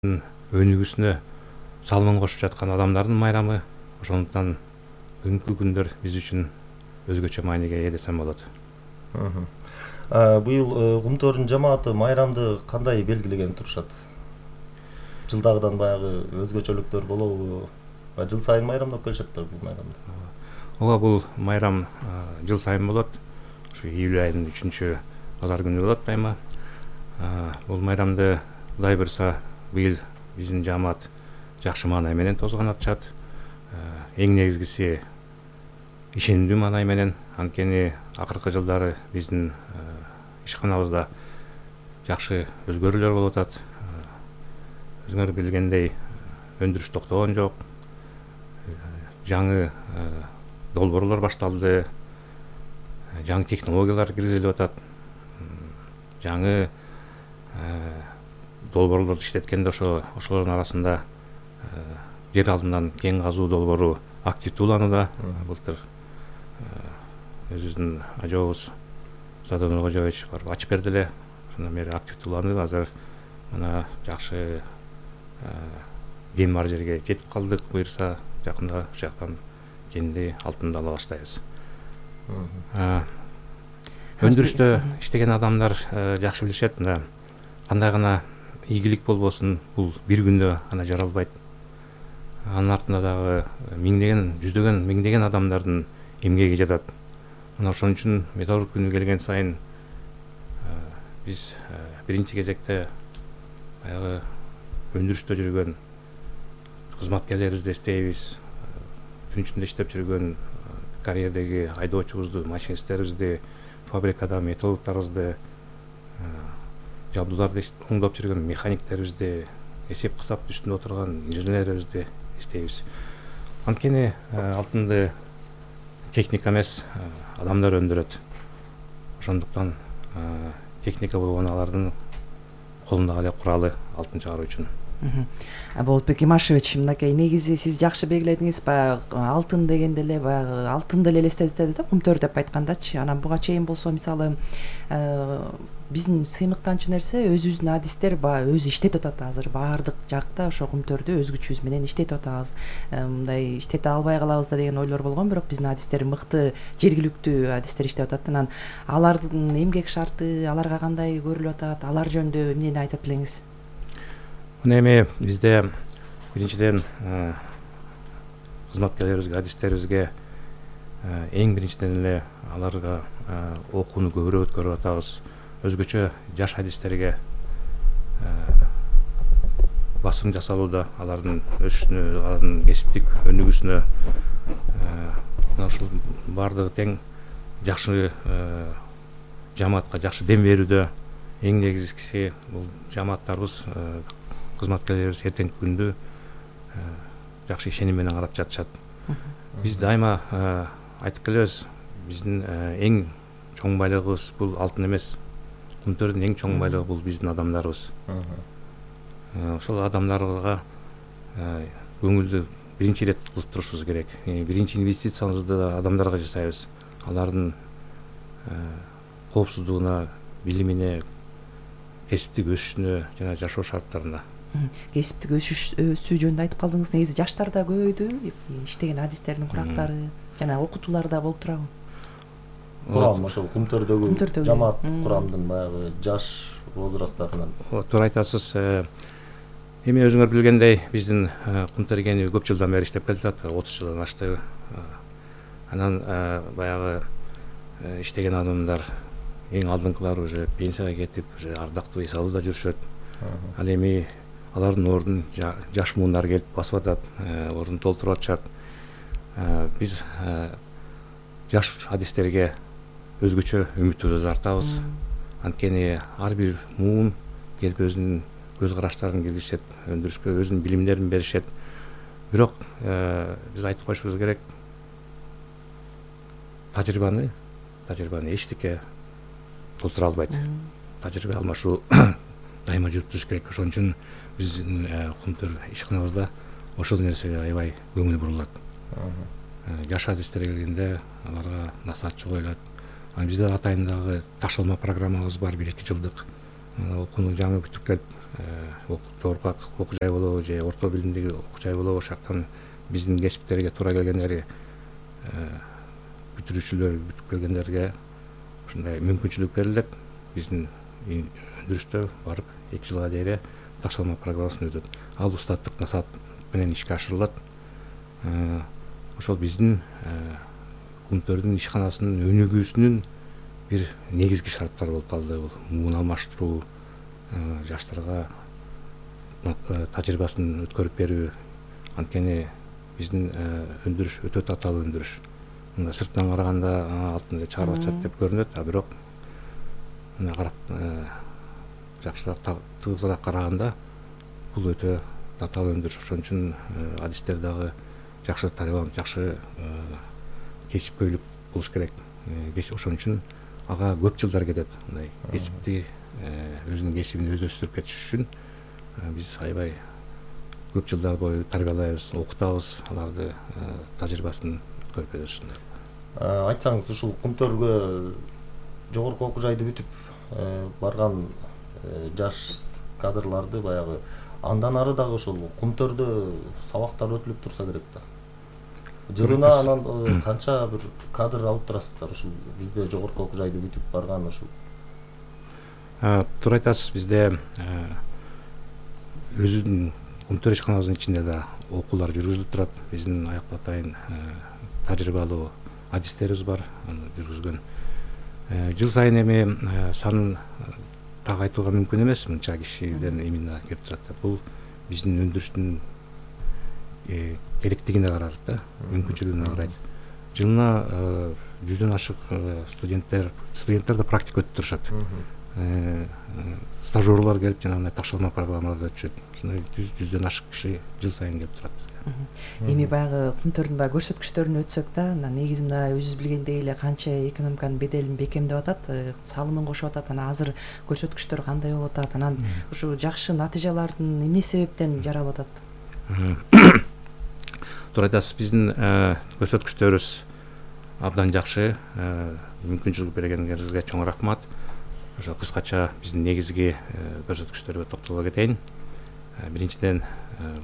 өнүгүүсүнө салымын кошуп жаткан адамдардын майрамы. Ошондуктан бүгүнкү күндөр биз үчүн өзгөчө мааниге ээ десем болот. Быйыл Кумтөрдүн жамааты майрамды кандай белгилеген турушат? Жылдагыдан баягы өзгөчөлүктөр болобу? Жыл сайын майрамдап келишет да бул майрамды. Ооба, бул майрам жыл сайын болот. Ушу июль айынын 3 базар күнү болот дайыма. Бул майрамды Кудай буйрса быйыл биздин жамаат жакшы маанай менен тосгон атышат. Эң негизгиси ишенимдүү маанай менен. Анткени акыркы жылдары биздин ишканабызда жакшы өзгөрүүлөр болуп атат. Өзүңөр билгендей, өндүрүш токтогон жок. Жаңы долбоорлор башталды. Жаңы технологиялар киргизилип атат. Жаңы долбоорлорду иштеткенде ошолордун арасында жер алдынан кен казуу долбоору активдүү уланууда. Былтыр өзүбүздүн ажообуз Садыр Нуркожоевич барып ачып берди эле. Ошондон бери активдүү уланып, азыр мына жакшы кен бар жерге жетип калдык. Буйрса жакында ушул жактан кенди, алтынды ала баштайбыз. Өндүрүштө иштеген адамдар жакшы билишет. Кандай гана ийгилик болбосун, бул бир күндө ана жаралбайт. Анын артында дагы миңдеген, жүздөгөн, миңдеген адамдардын эмгеги жатат. Мына ошон үчүн металлург күнү келген сайын биз биринчи кезекте баягы өндүрүштө жүргөн кызматкерлерибизди эстейбиз. Күн ичинде иштеп жүргөн карьердеги айдоочубузду, машинисттерибизди, фабрикада металлургтарыбызды, жабдууларды оңдоп жүргөн механиктерибизди, эсеп кысап үстүндө отурган инженерлерибизди эстейбиз. Анткени алтынды техника эмес, адамдар өндүрөт. Ошондуктан техника болгон алардын колундагы эле куралы алтын чыгаруу үчүн. Болотбек Имашевич, мынакей негизи сиз жакшы белгиледиңиз. Баягы алтын дегенде эле баягы алтынды эле элестебиз да, Кумтөр деп айткандачы. Анан буга чейин болсо мисалы биздин сыймыктанчу нерсе өзүбүздүн адистер өзү иштетип атат. Азыр баардык жакта ошо Кумтөрдү өзгөчүбүз менен иштетип атабыз. Мындай иштете албай калабыз да деген ойлор болгон, бирок биздин адистер мыкты, жергиликтүү адистер иштеп атат. Анан алардын эмгек шарты, аларга кандай көрүлүп атат, алар жөнүндө эмнени айтат элеңиз? Мына эми бизде биринчиден кызматкерлерибизге, адистерибизге эң биринчиден эле аларга окууну көбүрөөк өткөрүп атабыз. Өзгөчө жаш адистерге басым жасалууда, алардын өсүшүнө, алардын кесиптик өнүгүүсүнө. Мына ушул баардыгы тең жакшы жамаатка жакшы дем берүүдө. Эң негизгиси бул жамааттарыбыз, кызматкерлерибиз эртеңки күндү жакшы ишеним менен карап жатышат. Биз дайыма айтып келебиз, биздин эң чоң байлыгыбыз бул алтын эмес. Кумтөрдүн эң чоң байлыгы бул биздин адамдарыбыз. Ошол адамдарга көңүлдү биринчи ирет кылып турушубуз керек. Биринчи инвестициябызды да адамдарга жасайбыз. Алардын коопсуздугуна, билимине, кесиптик өсүшүнө жана жашоо шарттарына. Кесиптик өсүү жөнүндө айтып калдыңыз. Негизи жаштар да көбөйдү, иштеген адистердин курактары жана окутуулар да болуп турабы? Курам ошол Кумтөрдөгү жамаат курамдын баягы жаш возрасттарынан. Туура айтасыз. Эми өзүңөр билгендей, биздин Кумтөр кени көп жылдан бери иштеп келатат, 30 жылдан ашты. Анан баягы иштеген адамдар эң алдыңкылары уже пенсияга кетип, уже ардактуу эс алууда жүрүшөт. Ал эми алардын ордун жаш муундар келип басып атат, ордун толтуруп атышат. Биз жаш адистерге өзгөчө үмүтүбүздү артабыз. Анткени ар бир муун келип өзүнүн көз караштарын киргизишет, өндүрүшкө өзүнүн билимдерин беришет. Бирок биз айтып коюшубуз керек, тажрыйбаны эчтеке толтура албайт. Тажрыйба алмашуу дайыма жүрүп туруш керек. Ошон үчүн биздин Кумтөр ишканабызда ошол нерсеге аябай көңүл бурулат. Жаш адистер келгенде аларга насаатчы коюлат. Бизде атайын дагы ташалма программабыз бар, 1-2 жылдык. Окууну жаңы бүтүп келип жогорку окуу жай болобу же орто билимдеги окуу жай болобу, ошол жактан биздин кесиптерге туура келгендерге, бүтүрүүчүлөр бүтүп келгендерге ушундай мүмкүнчүлүк берилет. Биздин өндүрүштө барып 2 жылга дейре ташкалма программасын өтөт. Ал устаттык насаат менен ишке ашырылат. Ошол биздин кумтөрдүн ишканасынын өнүгүүсүнүн бир негизги шарттары болуп калды. Бул муун алмаштыруу, жаштарга тажрыйбасын өткөрүп берүү. Анткени биздин өндүрүш өтө татаал өндүрүш. Мында сырттан караганда алтын эле чыгарып атышат деп көрүнөт, а бирок мына карап жакшыраак тыгызыраак караганда бул өтө татаал өндүрүш. Ошон үчүн адистер дагы жакшы тарбияланып, жакшы кесипкөйлүк болуш керек. Ошон үчүн ага көп жылдар кетет. Мындай кесипти өзүнүн кесибин өзү өстүрүп кетиш үчүн биз аябай көп жылдар бою тарбиялайбыз, окутабыз, аларды тажрыйбасын өткөрүп беребиз. Айтсаңыз, ушул Кумтөргө жогорку окуу жайды бүтүп барган жаш кадрларды баягы андан ары дагы ушул Кумтөрдө сабактар өтүлүп турса керек да. Жылына анан канча бир кадр алып турасыздар ушул бизде жогорку окуу жайды бүтүп барган ушул? Туура айтасыз, бизде өзүнүн Кумтөр ишканабыздын ичинде да окуулар жүргүзүлүп турат. Биздин аяктан атайын тажрыйбалуу адистерибиз бар, аны жүргүзгөн. Жыл сайын эми санын так айтууга мүмкүн эмес, мынча кишиден именно келип турат. Бул биздин өндүрүштүн керектигине карайт да, мүмкүнчүлүгүнө карайт. Жылына 100дөн ашык студенттер да практика өтүп турушат. Стажерлор келип жанагындай ташкалма программаларды өтүшөт. Ушундай 100дөн ашык киши жыл сайын келип турат бизге. Эми баягы Кумтөрдүн баягы көрсөткүчтөрүн өтсөк да, негизи мына өзүбүз билгендей эле канча экономиканын беделин бекемдеп атат, салымын кошуп атат. Анан азыр көрсөткүчтөр кандай болуп атат? Анан ушу жакшы натыйжалардын эмне себептен жаралып атат? Туура айтасыз, биздин көрсөткүчтөрүбүз абдан жакшы. Мүмкүнчүлүк бергениңерге чоң рахмат. Ошо кыскача биздин негизги көрсөткүчтөргө токтоло кетейин. Биринчиден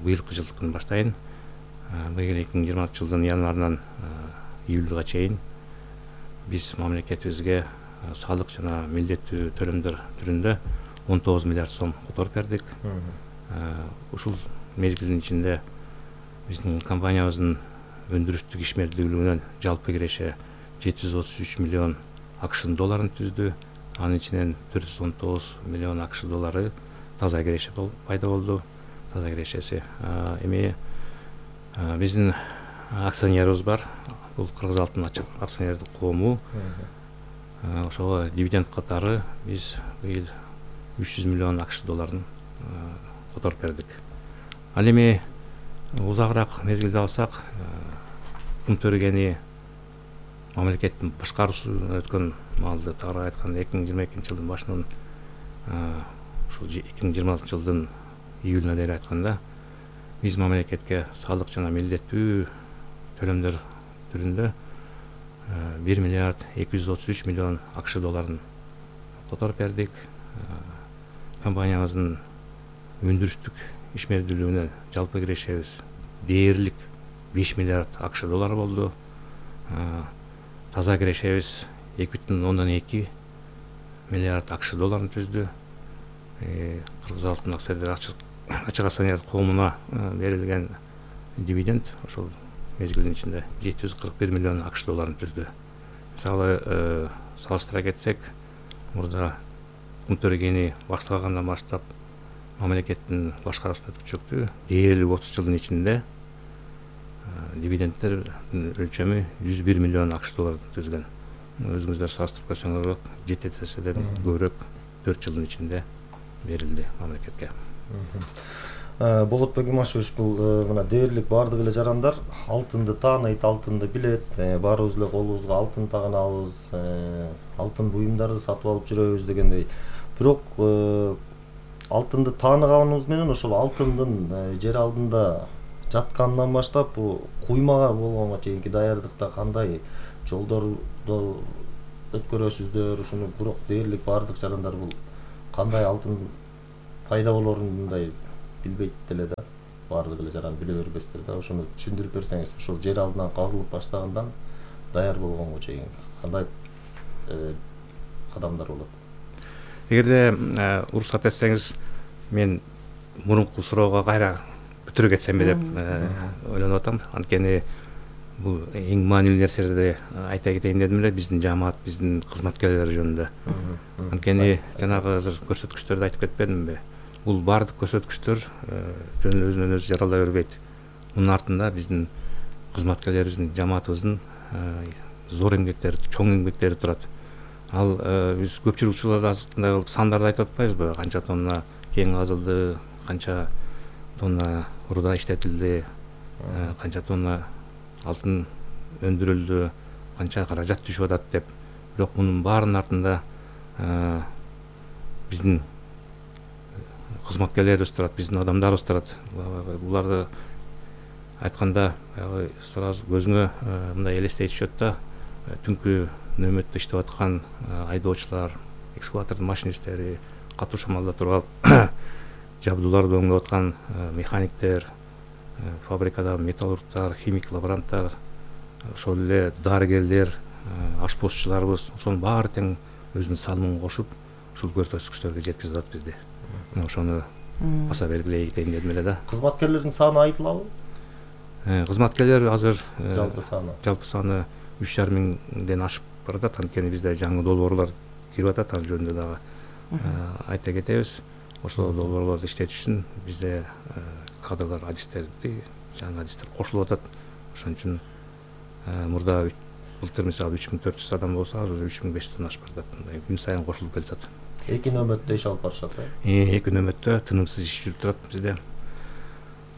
быйылкы жылдыкын баштайын. Быйыл 2020 жылдын январынан июлга чейин биз мамлекетибизге салык жана милдеттүү төлөмдөр түрүндө 19 миллиард сом которуп бердик. Ушул мезгилдин ичинде биздин компаниябыздын өндүрүштүк ишмердүүлүгүнөн жалпы киреше 733 миллион АКШ долларын түздү. Анын ичинен 419 миллион АКШ доллары таза киреше пайда болду. Таза кирешеси. Эми биздин акционерибиз бар. Бул Кыргыз алтын ачык акционердик коому. Ошого дивиденд катары биз быйыл 300 миллион АКШ долларын которуп бердик. Ал эми узагыраак мезгилди алсак, Кумтөр кени мамлекеттин башкаруусуна өткөн маалда тагыраак айтканда 2022 жылдын башынан ушул 2026 жылдын июлуна дейин айтканда биз мамлекетке салык жана милдеттүү төлөмдөр түрүндө 1 миллиард 233 миллион АКШ долларын которуп бердик. Компаниябыздын өндүрүштүк ишмердүүлүгүнө жалпы кирешебиз дээрлик 5 миллиард АКШ доллары болду. Таза кирешебиз 2,2 миллиард АКШ долларын түздү. Кыргыз алтын ачык акционердик коомуна берилген дивиденд ошол мезгилдин ичинде 741 миллион АКШ долларын түздү. Мисалы салыштыра кетсек, мурда Кумтөр кени башталгандан баштап мамлекеттин башкаруусуна өткүчөктү дээрлик 30 жылдын ичинде дивидендтер өлчөмү 101 миллион АКШ долларын түзгөн. Өзүңүздөр салыштырып көрсөңөр 7 эседен көбүрөөк 4 жылдын ичинде берилди мамлекетке. Болотбек Имашевич, бул мына дээрлик баардык эле жарандар алтынды тааныйт, алтынды билет. Баарыбыз эле колубузга алтын таганабыз, алтын буюмдарды сатып алып жүрөбүз дегендей. Бирок алтынды тааныганыбыз менен ошол алтындын жер алдында жатканынан баштап бул куймага болгонго чейинки даярдыкта кандай жолдорду өткөрөсүздөр, ушуну бирок дээрлик баардык жарандар бул кандай алтын пайда болоорун мындай билбейт деле да, баардыгы эле жаран биле бербестер да. Ошону түшүндүрүп берсеңиз, ошол жер алдынан казылып баштагандан даяр болгонго чейин кандай кадамдар болот? Эгерде уруксат этсеңиз, мен мурунку суроого кайра бүтүрө кетсемби деп ойлонуп атам. Анткени бул эң маанилүү нерселерди айта кетейин дедим эле, биздин жамаат, биздин кызматкерлер жөнүндө. Анткени жанагы азыр көрсөткүчтөрдү айтып кетпедимби? Бул баардык көрсөткүчтөр жөн эле өзүнөн өзү жаралай бербейт. Мунун артында биздин кызматкерлерибиздин, жамаатыбыздын зор эмгектери, чоң эмгектери турат. Ал биз көпчүлүк учурларда мындай кылып сандарды айтып атпайбызбы? Канча тонна кең казылды, канча тонна руда иштетилди, канча тонна алтын өндүрүлдү, канча каражат түшүп атат деп. Бирок мунун баарынын артында биздин кызматкерлерибиз турат, биздин адамдарыбыз турат. Буларды айтканда сразу көзүңө мындай элестей түшөт да, түнкү нөөмөттө иштеп аткан айдоочулар, экскаватордун машинисттери, катуу шамалда туруп алып жабдууларды өңдөп аткан механиктер, фабрикадагы металлургтар, химик лаборанттар, ошол эле дарыгерлер, ашпозчуларыбыз, ошонун баары тең өзүнүн салымын кошуп, ушул көрсөткүчтөргө жеткизип атат бизди. Ошону баса белгилей кетейин дедим эле да. Кызматкерлердин саны айтылабы? Кызматкерлер азыр Жалпы саны 3,5 миңден ашып баратат. Анткени бизде жаңы долбоорлор кирип атат, ал жөнүндө дагы айта кетебиз. Ошол долбоорлорду иштетиш үчүн бизде кадрлар, адистерди, жаңы адистер кошулуп атат. Ошон үчүн мурда былтыр мисалы 3400 адам болсо, азыр 3500дөн ашып баратат. Мындай күн сайын кошулуп келатат. Эки нөөмөттө иш алып барышат, Эки нөөмөттө тынымсыз иш жүрүп турат бизде.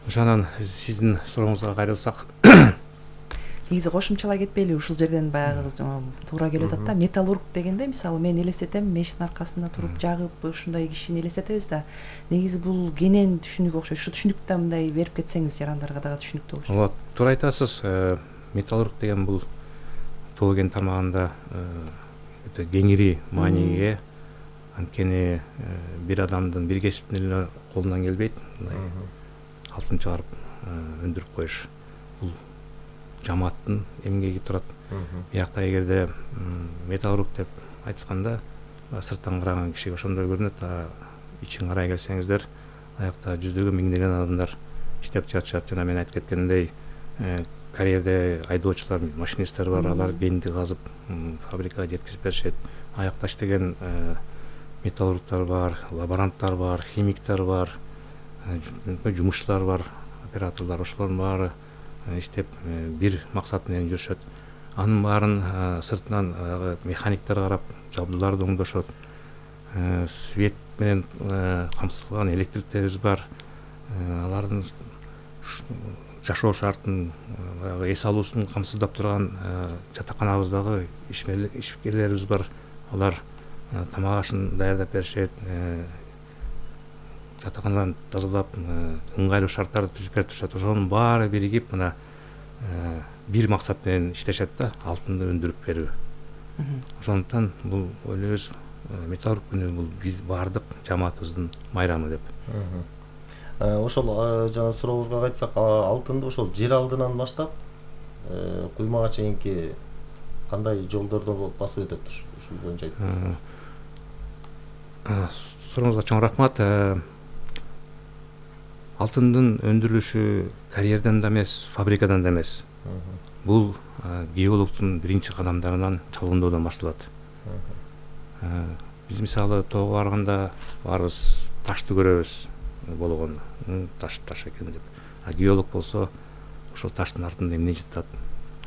Ошондон сиздин сурооңузга кайрылсак, негизи кошумчалай кетпейли, ушул жерден баягы туура келип атат да. Металлург дегенде мисалы мен элестетем, мештин аркасында туруп жагып ушундай кишини элестетебиз да. Негизи бул кенен түшүнүк окшойт. Ушу түшүнүктү мындай берип кетсеңиз жарандарга дагы түшүнүктүү болчу. ооба, туура айтасыз. Металлург деген бул тоо кен тармагында өтө кеңири мааниге ээ. Анткени бир адамдын, бир кесиптин эле колунан келбейт. Алтын чыгарып өндүрүп коюш. Бул жамааттын эмгеги турат. Биякта эгерде металлург деп айтышканда сырттан караган кишиге ошондой көрүнөт, ичин карай келсеңиздер, аякта жүздөгөн, миңдеген адамдар иштеп жатышат. Жана мен айтып кеткендей, карьерде айдоочулар, машинисттер бар, алар кенди казып фабрикага жеткизип беришет. Аякта иштеген металлургтар бар, лаборанттар бар, химиктер бар, жумушчулар бар, операторлор, ошолордун баары иштеп бир максат менен жүрүшөт. Анын баарын сыртынан механиктер карап, жабдууларды оңдошот. Свет менен камсыздалган электриктерибиз бар. Алардын жашоо шартын, эс алуусун камсыздап турган жатаканабыздагы ишкерлерибиз бар. Алар тамак ашын даярдап беришет, жатакананы тазалап, ыңгайлуу шарттарды түзүп берип турушат. Ошонун баары биригип мына бир максат менен иштешет да, алтынды өндүрүп берүү. Ошондуктан бул ойлойбуз, металлург күнү бул биз баардык жамаатыбыздын майрамы деп. Ошол жана сурообузга кайтсак, алтынды ошол жер алдынан баштап куймага чейинки кандай жолдордо басып өтөт, ушул боюнча айтып берсеңиз. Сурооңузга чоң рахмат. Алтындын өндүрүлүшү карьерден да эмес, фабрикадан да эмес. Бул геологдун биринчи кадамдарынан, чалгындоодон башталат. Биз мисалы тоого барганда баарыбыз ташты көрөбүз, болгон таш экен деп. Геолог болсо ошол таштын артында эмне жатат,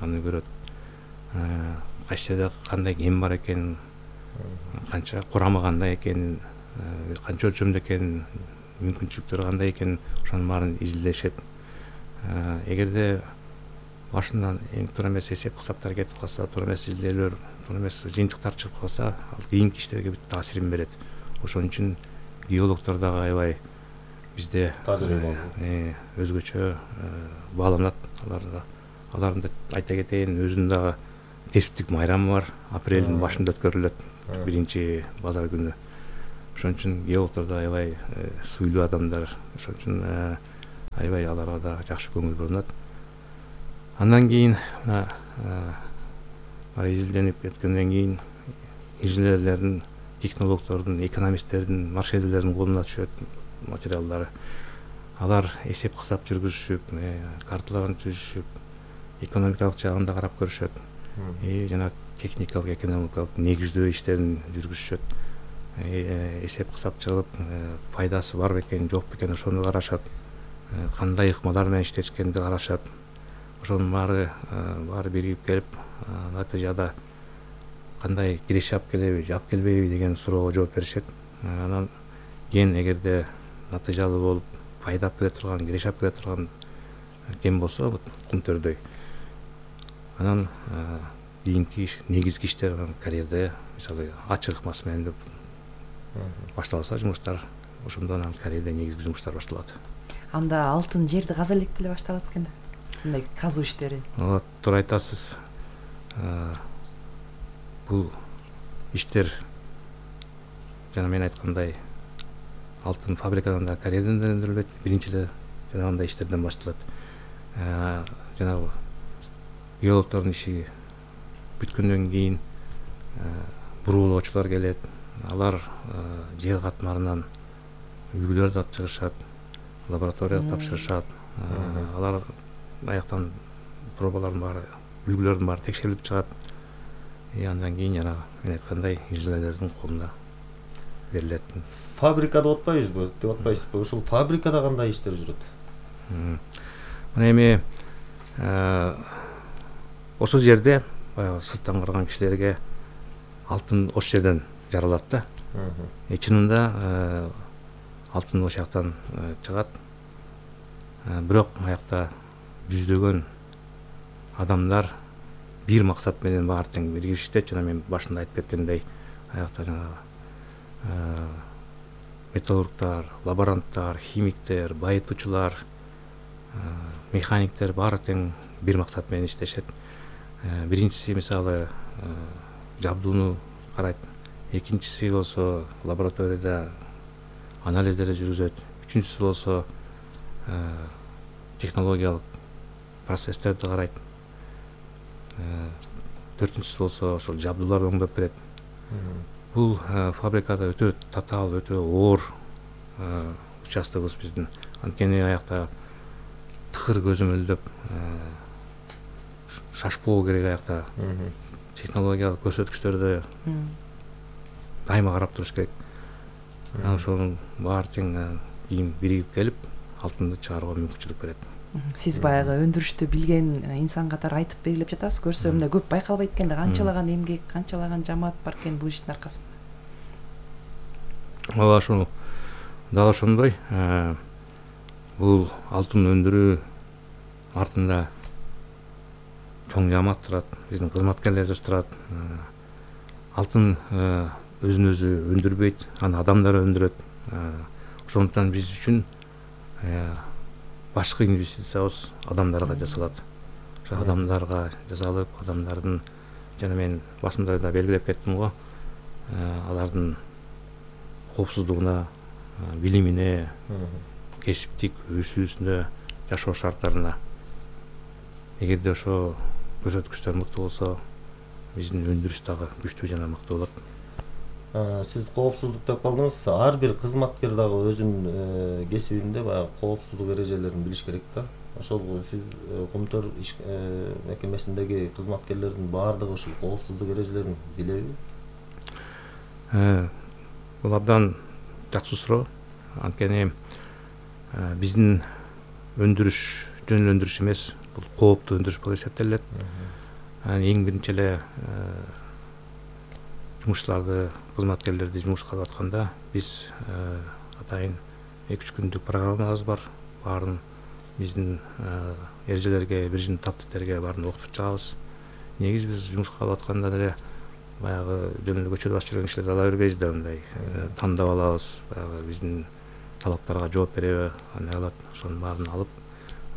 аны көрөт. Кайсы жерде кандай кен бар экенин, канча курамы кандай экенин, канча өлчөмдө экенин, мүмкүнчүлүктөрү кандай экенин, ошонун баарын изилдешет. Эгерде башынан эң туура эмес эсеп кысаптар кетип калса, туура эмес изилдөөлөр, туура эмес жыйынтыктар чыгып калса, ал кийинки иштерге бүт таасирин берет. Ошон үчүн геологдор дагы аябай бизде өзгөчө бааланат. Алардын айта кетейин, өзүнүн дагы кесиптик майрамы бар. Апрелдин башында өткөрүлөт, биринчи базар күнү. ошон үчүн геологдор да аябай сыйлуу адамдар, ошон үчүн аябай аларга да жакшы көңүл бурулат. Андан кийин мына изилденип кеткенден кийин инженерлердин, технологдордун, экономисттердин, маршрутерлердин колуна түшөт материалдары. Алар эсеп кысап жүргүзүшүп, карталарын түзүшүп, экономикалык жагын да карап көрүшөт. Жана техникалык, экономикалык негиздөө иштерин жүргүзүшөт. Эсеп кысап чыгып, пайдасы бар бекен, жок бекен ошону карашат. Кандай ыкмалар менен иштешкенди карашат. Ошонун баары биригип келип, натыйжада кандай киреше алып келеби, алып келбейби деген суроого жооп беришет. Анан кийин эгерде натыйжалуу болуп, пайда алып келе турган, киреше алып келе турган кен болсо, Кумтөрдөй, анан кийинки негизги иштер карьерде, мисалы ачык ыкмасы менен деп башталса жумуштар, ошондо анан карьерде негизги жумуштар башталат. Анда алтын жерди каза элек деле башталат экен да, мындай казуу иштери. Туура айтасыз. Бул иштер жана мен айткандай алтын фабрикадан да, карьерден да өндүрүлөт. Биринчи эле жанагындай иштерден башталат. Жанагы геологдордун иши бүткөндөн кийин буруулоочулар келет. Алар жер катмарынан үлгүлөрдү алып чыгышат, лабораторияга тапшырышат. Алар аяктан пробалардын баары, үлгүлөрдүн баары текшерилип чыгат. Андан кийин жана мен айткандай инженерлердин колуна берилет. Фабрикада отпайбызбы, деп атпайсызбы? Ушул фабрикада кандай иштер жүрөт? Мына эми ошол жерде баягы сырттан караган кишилерге алтын ошол жерден жаралат да. Чынында алтын ошол жактан чыгат. Бирок аякта жүздөгөн адамдар бир максат менен баары тең биригип иштейт. Жана мен башында айтып кеткендей, аякта жанагы металлургтар, лаборанттар, химиктер, байытуучулар, механиктер баары тең бир максат менен иштешет. Биринчиси мисалы жабдууну карайт, экинчиси болсо лабораторияда анализдерди жүргүзөт, үчүнчүсү болсо технологиялык процесстерди карайт, төртүнчүсү болсо ошол жабдууларды оңдоп берет. Бул фабрикада өтө татаал, өтө оор участогубуз биздин. Анткени аякта тыкыр көзөмөлдөп шашпоо керек, аякта технологиялык көрсөткүчтөрдү дайыма карап туруш керек. Ошонун баары тең кийин биригип келип алтынды чыгарууга мүмкүнчүлүк берет. Сиз баягы өндүрүштү билген инсан катары айтып белгилеп жатасыз. Көрсө мындай көп байкалбайт экен да, канчалаган эмгек, канчалаган жамаат бар экен бул иштин аркасында. Ооба, ошол дал ошондой. Бул алтын өндүрүү артында чоң жамаат турат, биздин кызматкерлерибиз турат. Алтын өзүн өзү өндүрбөйт, аны адамдар өндүрөт. Ошондуктан биз үчүн башкы инвестициябыз адамдарга жасалат. Ошо адамдарга жасалып, адамдардын, жана мен басында да белгилеп кеттим го, алардын коопсуздугуна, билимине, кесиптик өсүүсүнө, жашоо шарттарына. Эгерде ошо көрсөткүчтөр мыкты болсо, биздин өндүрүш дагы күчтүү жана мыкты болот. Сиз коопсуздук деп калдыңыз. Ар бир кызматкер дагы өзүнүн кесибинде баягы коопсуздук эрежелерин билиш керек да. Ошол сиз Кумтөр мекемесиндеги кызматкерлердин баардыгы ушул коопсуздук эрежелерин билеби? Бул абдан жакшы суроо. Анткени биздин өндүрүш жөн эле өндүрүш эмес, бул кооптуу өндүрүш болуп эсептелет. Эң биринчи эле жумушчуларды, кызматкерлерди жумушка алып атканда биз атайын 2-3 күндүк программабыз бар. Баарын биздин эрежелерге, биржин таптиптерге баарын окутуп чыгабыз. Негизи биз жумушка алып атканда деле баягы жөн эле көчөдө басып жүргөн кишилерди ала бербейбиз да, мындай тандап алабыз. Баягы биздин талаптарга жооп береби, кандай кылат, ошонун баарын алып,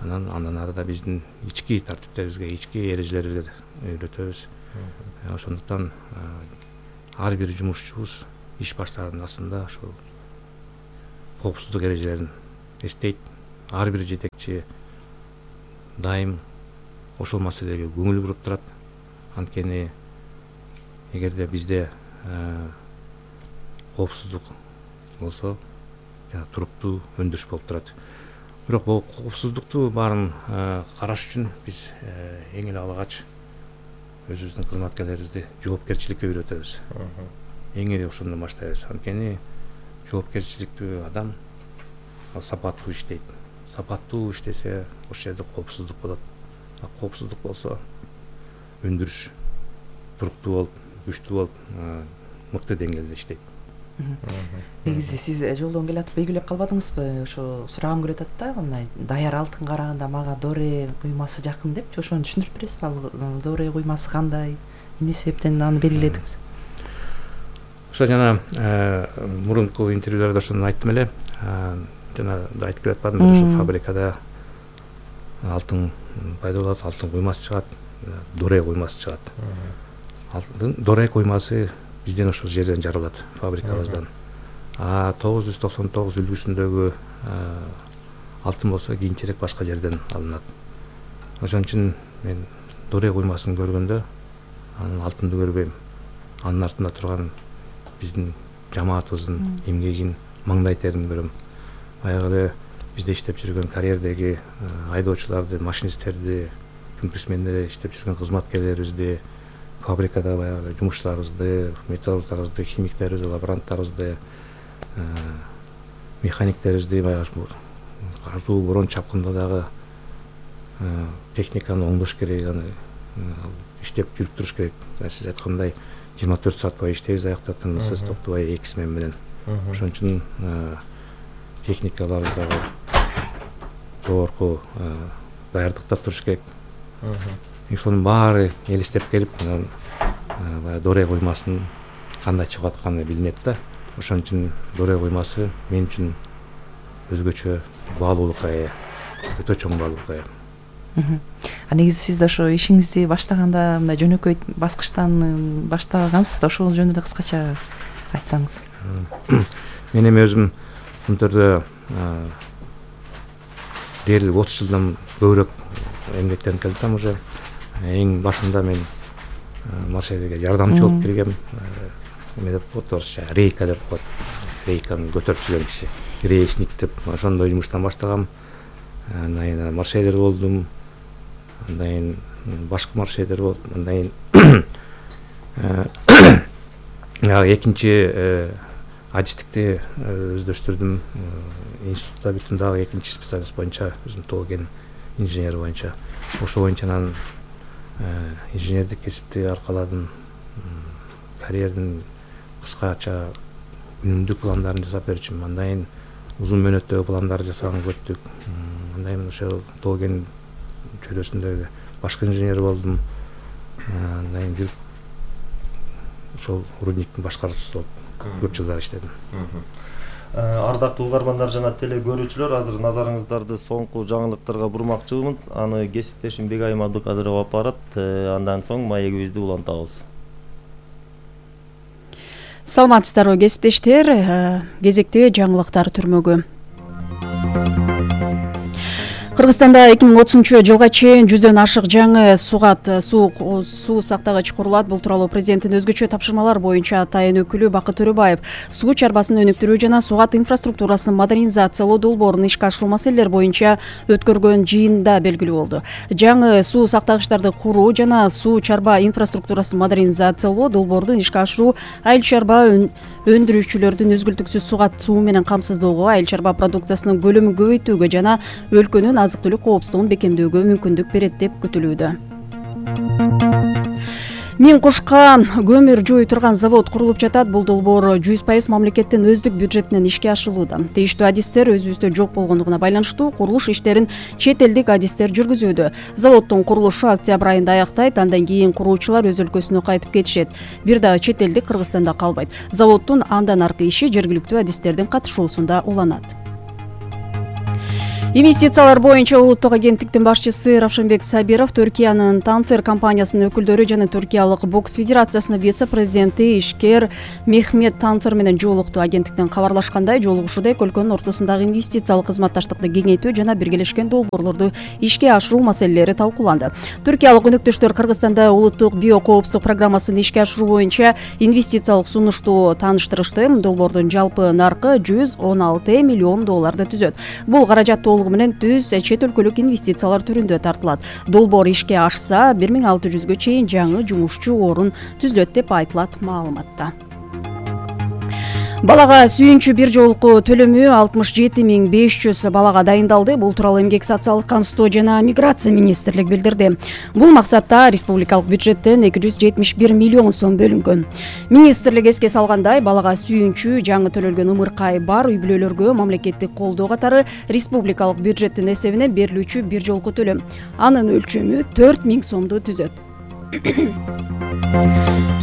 андан ары да биздин ички тартиптерибизге, ички эрежелерибизге үйрөтөбүз. Ошондуктан ар бир жумушчубуз иш баштаганын астында ошол коопсуздук эрежелерин эстейт. Ар бир жетекчи дайым ошол маселеге көңүл буруп турат. Анткени эгерде бизде коопсуздук болсо туруктуу өндүрүш болуп турат. Бирок бул коопсуздукту баарын караш үчүн биз эң эле алгач өзүбүздүн кызматкерлерибизди жоопкерчиликке үйрөтөбүз. Эң эле ошондон баштайбыз. Анткени жоопкерчиликтүү адам сапаттуу иштейт. Сапаттуу иштесе ошол жерде коопсуздук болот. Коопсуздук болсо өндүрүш туруктуу болуп, күчтүү болуп, мыкты деңгээлде иштейт. Негизи сиз жолдон келатып белгилеп калбадыңызбы? Ошо сурагым келип атат да, мындай даяр алтынга караганда мага доре куймасы жакын депчи. Ошону түшүндүрүп бересизби? Ал доре куймасы кандай? Эмне себептен аны белгиледиңиз? Ошо жана мурунку интервьюларда ошону айттым эле. Жана да айтып жатпадымбы, ошо фабрикада алтын пайда болот, алтын куймасы чыгат, доре куймасы чыгат. Алтын доре куймасы бизден ошол жерден жаралат, фабрикабыздан. 999 үлгүсүндөгү алтын болсо кийинчерээк башка жерден алынат. Ошон үчүн мен доре куймасын көргөндө анын алтынды көрбөйм. Анын артында турган биздин жамаатыбыздын эмгегин, маңдай терин көрөм. Баягы эле бизде иштеп жүргөн карьердеги айдоочуларды, машинисттерди, күнкүсмендерди иштеп жүргөн кызматкерлерибизди, фабрикада баягы жумушчуларыбызды, металлургтарыбызды, химиктерибизди, лаборанттарыбызды, механиктерибизди баягы кардуу борон чапкында дагы техниканы оңдош керек, аны иштеп жүрүп туруш керек. Сиз айткандай 24 саат бою иштейбиз, аяктатымсыз токтобой эки смен менен. Ошон үчүн техникаларыбыз дагы жогорку даярдыкта туруш керек. Ошонун баары элестеп келип, баягы доре куймасынын кандай чыгып атканы билинет да. Ошон үчүн доре куймасы мен үчүн өзгөчө баалуулукка ээ, өтө чоң баалуулукка ээ. Негизи сиз ошо ишиңизди баштаганда мындай жөнөкөй баскычтан баштагансыз да, ошол жөнүндө кыскача айтсаңыз. Мен эми өзүм Күнтөрдө дээрлик 30 жылдан көбүрөөк эмгектенип келатам уже. Эң башында мен маршрутке жардамчы болуп келгем. Эме деп коет орусча, рейка деп коет. Рейканы көтөрүп жүргөн киши. Грешник деп ошондой жумуштан баштагам. Андан маршрутер болдум. Андан башкы маршрутер болуп, андан экинчи адистикти өздөштүрдүм. Институтта бүттүм дагы экинчи специалист боюнча, өзүм тоген инженер боюнча. Ошол боюнча анан инженердик кесипти аркаладым. Карьердин кыскача үнүмдүү пландарын жасап берчүмүн. Андан узун мөөнөттөгү пландарды жасаганга өттүк. Андан ошол тоген чөйрөсүндө башкы инженер болдум. Андан жүрүп ошол рудниктин башкаруучусу болуп көп жылдар иштедим. Ардактуу угармандар жана теле көрүүчүлөр, азыр назарыңыздарды соңку жаңылыктарга бурмакчымын. Аны кесиптешим Бегайым Абдыкадырова алып барат. Андан соң маегибизди улантабыз. Саламатсыздарбы кесиптештер, кезекте жаңылыктар түрмөгү. Кыргызстанда 2030-жылга чейин 100дөн ашык жаңы суу сактагыч курулат. Бул тууралуу президенттин өзгөчө тапшырмалар боюнча атайын өкүлү Бакыт Төрөбаев суу чарбасын өнүктүрүү жана суугат инфраструктурасын модернизациялоо долбоорун ишке ашыруу маселелери боюнча өткөргөн жыйында белгилүү болду. Жаңы суу сактагычтарды куруу жана суу чарба инфраструктурасын модернизациялоо долбоордун ишке ашыруу айыл чарба өндүрүүчүлөрдүн үзгүлтүксүз суу менен камсыздоого, айыл чарба продукциясынын көлөмүн көбөйтүүгө жана өлкөнүн азык-түлүк коопсуздугун бекемдөөгө мүмкүндүк берет деп күтүлүүдө. Миң кушка көмүр жууй турган завод курулуп жатат. Бул долбоор 100% мамлекеттин өздүк бюджетинен ишке ашырылууда. Тийиштүү адистер өзүбүздө жок болгондугуна байланыштуу курулуш иштерин чет элдик адистер жүргүзүүдө. Заводдун курулушу октябрь айында аяктайт, андан кийин куруучулар өз өлкөсүнө кайтып кетишет. Бир дагы чет элдик Кыргызстанда калбайт. Заводдун андан аркы иши жергиликтүү адистердин катышуусунда уланат. Инвестициялар боюнча улуттук агенттиктин башчысы Равшанбек Сабиров Түркиянын Танфер компаниясынын өкүлдөрү жана Түркиялык бокс федерациясынын вице-президенти ишкер Мехмет Танфер менен жолукту. Агенттиктен кабарлашкандай, жолугушууда эки өлкөнүн ортосундагы инвестициялык кызматташтыкты кеңейтүү жана биргелешкен долбоорлорду ишке ашыруу маселелери талкууланды. Түркиялык өнөктөштөр Кыргызстанда улуттук биокоопсуздук программасын ишке ашыруу боюнча инвестициялык сунушту тааныштырышты. Долбоордун жалпы наркы $116 миллион түзөт. Бул каражат толугу менен түз чет өлкөлүк инвестициялар түрүндө тартылат. Долбоор ишке ашса 1600гө чейин жаңы жумушчу орун түзүлөт деп айтылат маалыматта. Балага сүйүнчү бир жолку төлөмү 67.500 балага дайындалды. Бул тууралуу Эмгек социалдык камсыздоо жана миграция министрлиги билдирди. Бул максатта республикалык бюджеттен 271 миллион сом бөлүнгөн. Министрлик эске салгандай, балага сүйүнчү жаңы төлөлгөн ымыркай бар үй бүлөлөргө мамлекеттик колдоо катары республикалык бюджеттин эсебинен берилүүчү бир жолку төлөм. Анын өлчөмү 4000 сомду түзөт.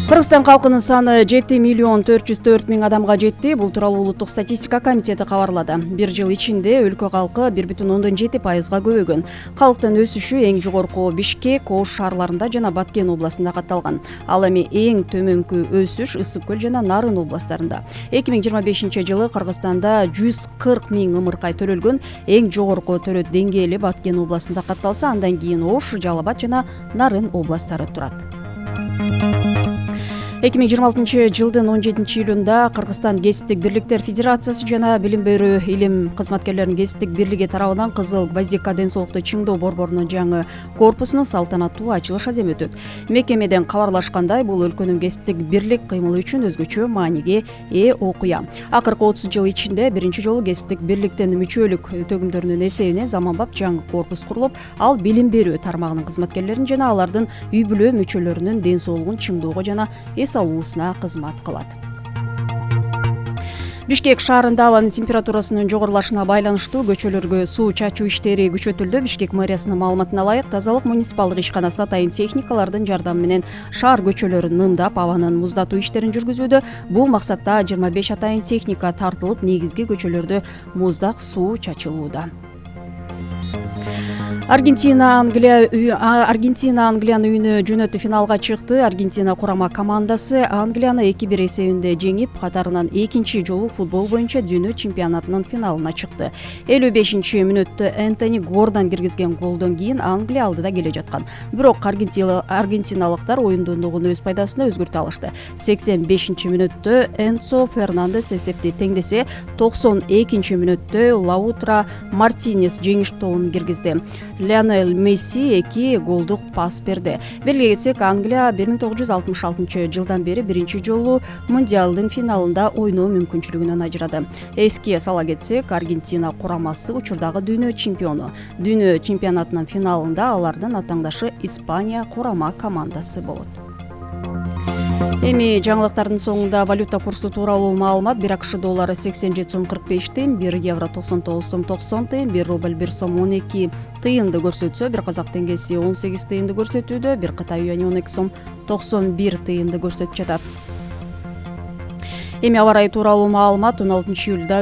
Кыргызстан калкынын саны 7.404.000 адамга жетти. Бул тууралуу улуттук статистика комитети кабарлады. Бир жыл ичинде өлкө калкы 1,7%-га көбөйгөн. Калктын өсүшү эң жогорку Бишкек, Ош шаарларында жана Баткен областында катталган. Ал эми эң төмөнкү өсүш Ысык көл жана Нарын областарында. 2025-жылы Кыргызстанда 140.000 ымыркай төлөлгөн. Эң жогорку төлөт деңгээли Баткен областында катталса, андан кийин Ош, Жалал Абад жана Нарын областары турат. 2026-жылдын 17-июлунда Кыргызстан кесиптик бирликтер федерациясы жана билим берүү илим кызматкерлеринин кесиптик бирлиги тарабынан Кызыл Гвоздика ден соолукту чыңдоо борборунун жаңы корпусунун салтанаттуу ачылыш аземи өтөт. Мекемеден кабарлашкандай, бул өлкөнүн кесиптик бирлик кыймылы үчүн өзгөчө мааниге ээ окуя. Акыркы 30 жыл ичинде биринчи жолу кесиптик бирликтин мүчөлүк төгүмдөрүнүн эсебинен заманбап жаңы корпус курулуп, ал билим берүү тармагынын кызматкерлерин жана алардын үй бүлө мүчөлөрүнүн ден соолугун чыңдоого жана алуусуна кызмат кылат. Бишкек шаарында абанын температурасынын жогорулашына байланыштуу көчөлөргө суу чачуу иштери күчөтүлдү. Бишкек мэриясынын маалыматына ылайык, тазалык муниципалдык ишканасы атайын техникалардын жардамы менен шаар көчөлөрүн нымдап, абанын муздатуу иштерин жүргүзүүдө. Бул максатта 25 атайын техника тартылып, негизги көчөлөрдө муздак суу чачылууда. Аргентина Англиянын үйүнө жөнөтүү финалга чыкты. Аргентина курама командасы Англияны 2-1 эсебинде жеңип, катарынан экинчи жолу футбол боюнча дүйнө чемпионатынын финалына чыкты. 55-мүнөттө Энтони Гордон киргизген голдон кийин Англия алдыда келе жаткан. Бирок аргентиналыктар оюндондугун өз пайдасына өзгөртө алышты. 85-мүнөттө Энцо Фернандес эсепти теңдесе, 92-мүнөттө Лаутро Мартинес жеңиш тобун киргизди. Лионель Месси 2 голдук пас берди. Белгилей кетсек, Англия 1966-жылдан бери биринчи жолу мундиалдын финалында ойноо мүмкүнчүлүгүнөн ажырады. Эске сала кетсек, Аргентина курамасы учурдагы дүйнө чемпиону. Дүйнө чемпионатынын финалында алардын атаңдашы Испания курама командасы болот. Эми жаңылыктардын соңунда валюта курсу тууралуу маалымат. 1 АКШ доллары 87 сом 45 тыйын, 1 евро 99 сом 90 тыйын, 1 рубль 1 сом 12 тыйынды көрсөтсө, 1 казак теңгеси 18 тыйынды көрсөтүүдө, 1 Кытай юани 12 сом 91 тыйынды көрсөтүп жатат. Эми аба ырайы тууралуу маалымат. 16-июлда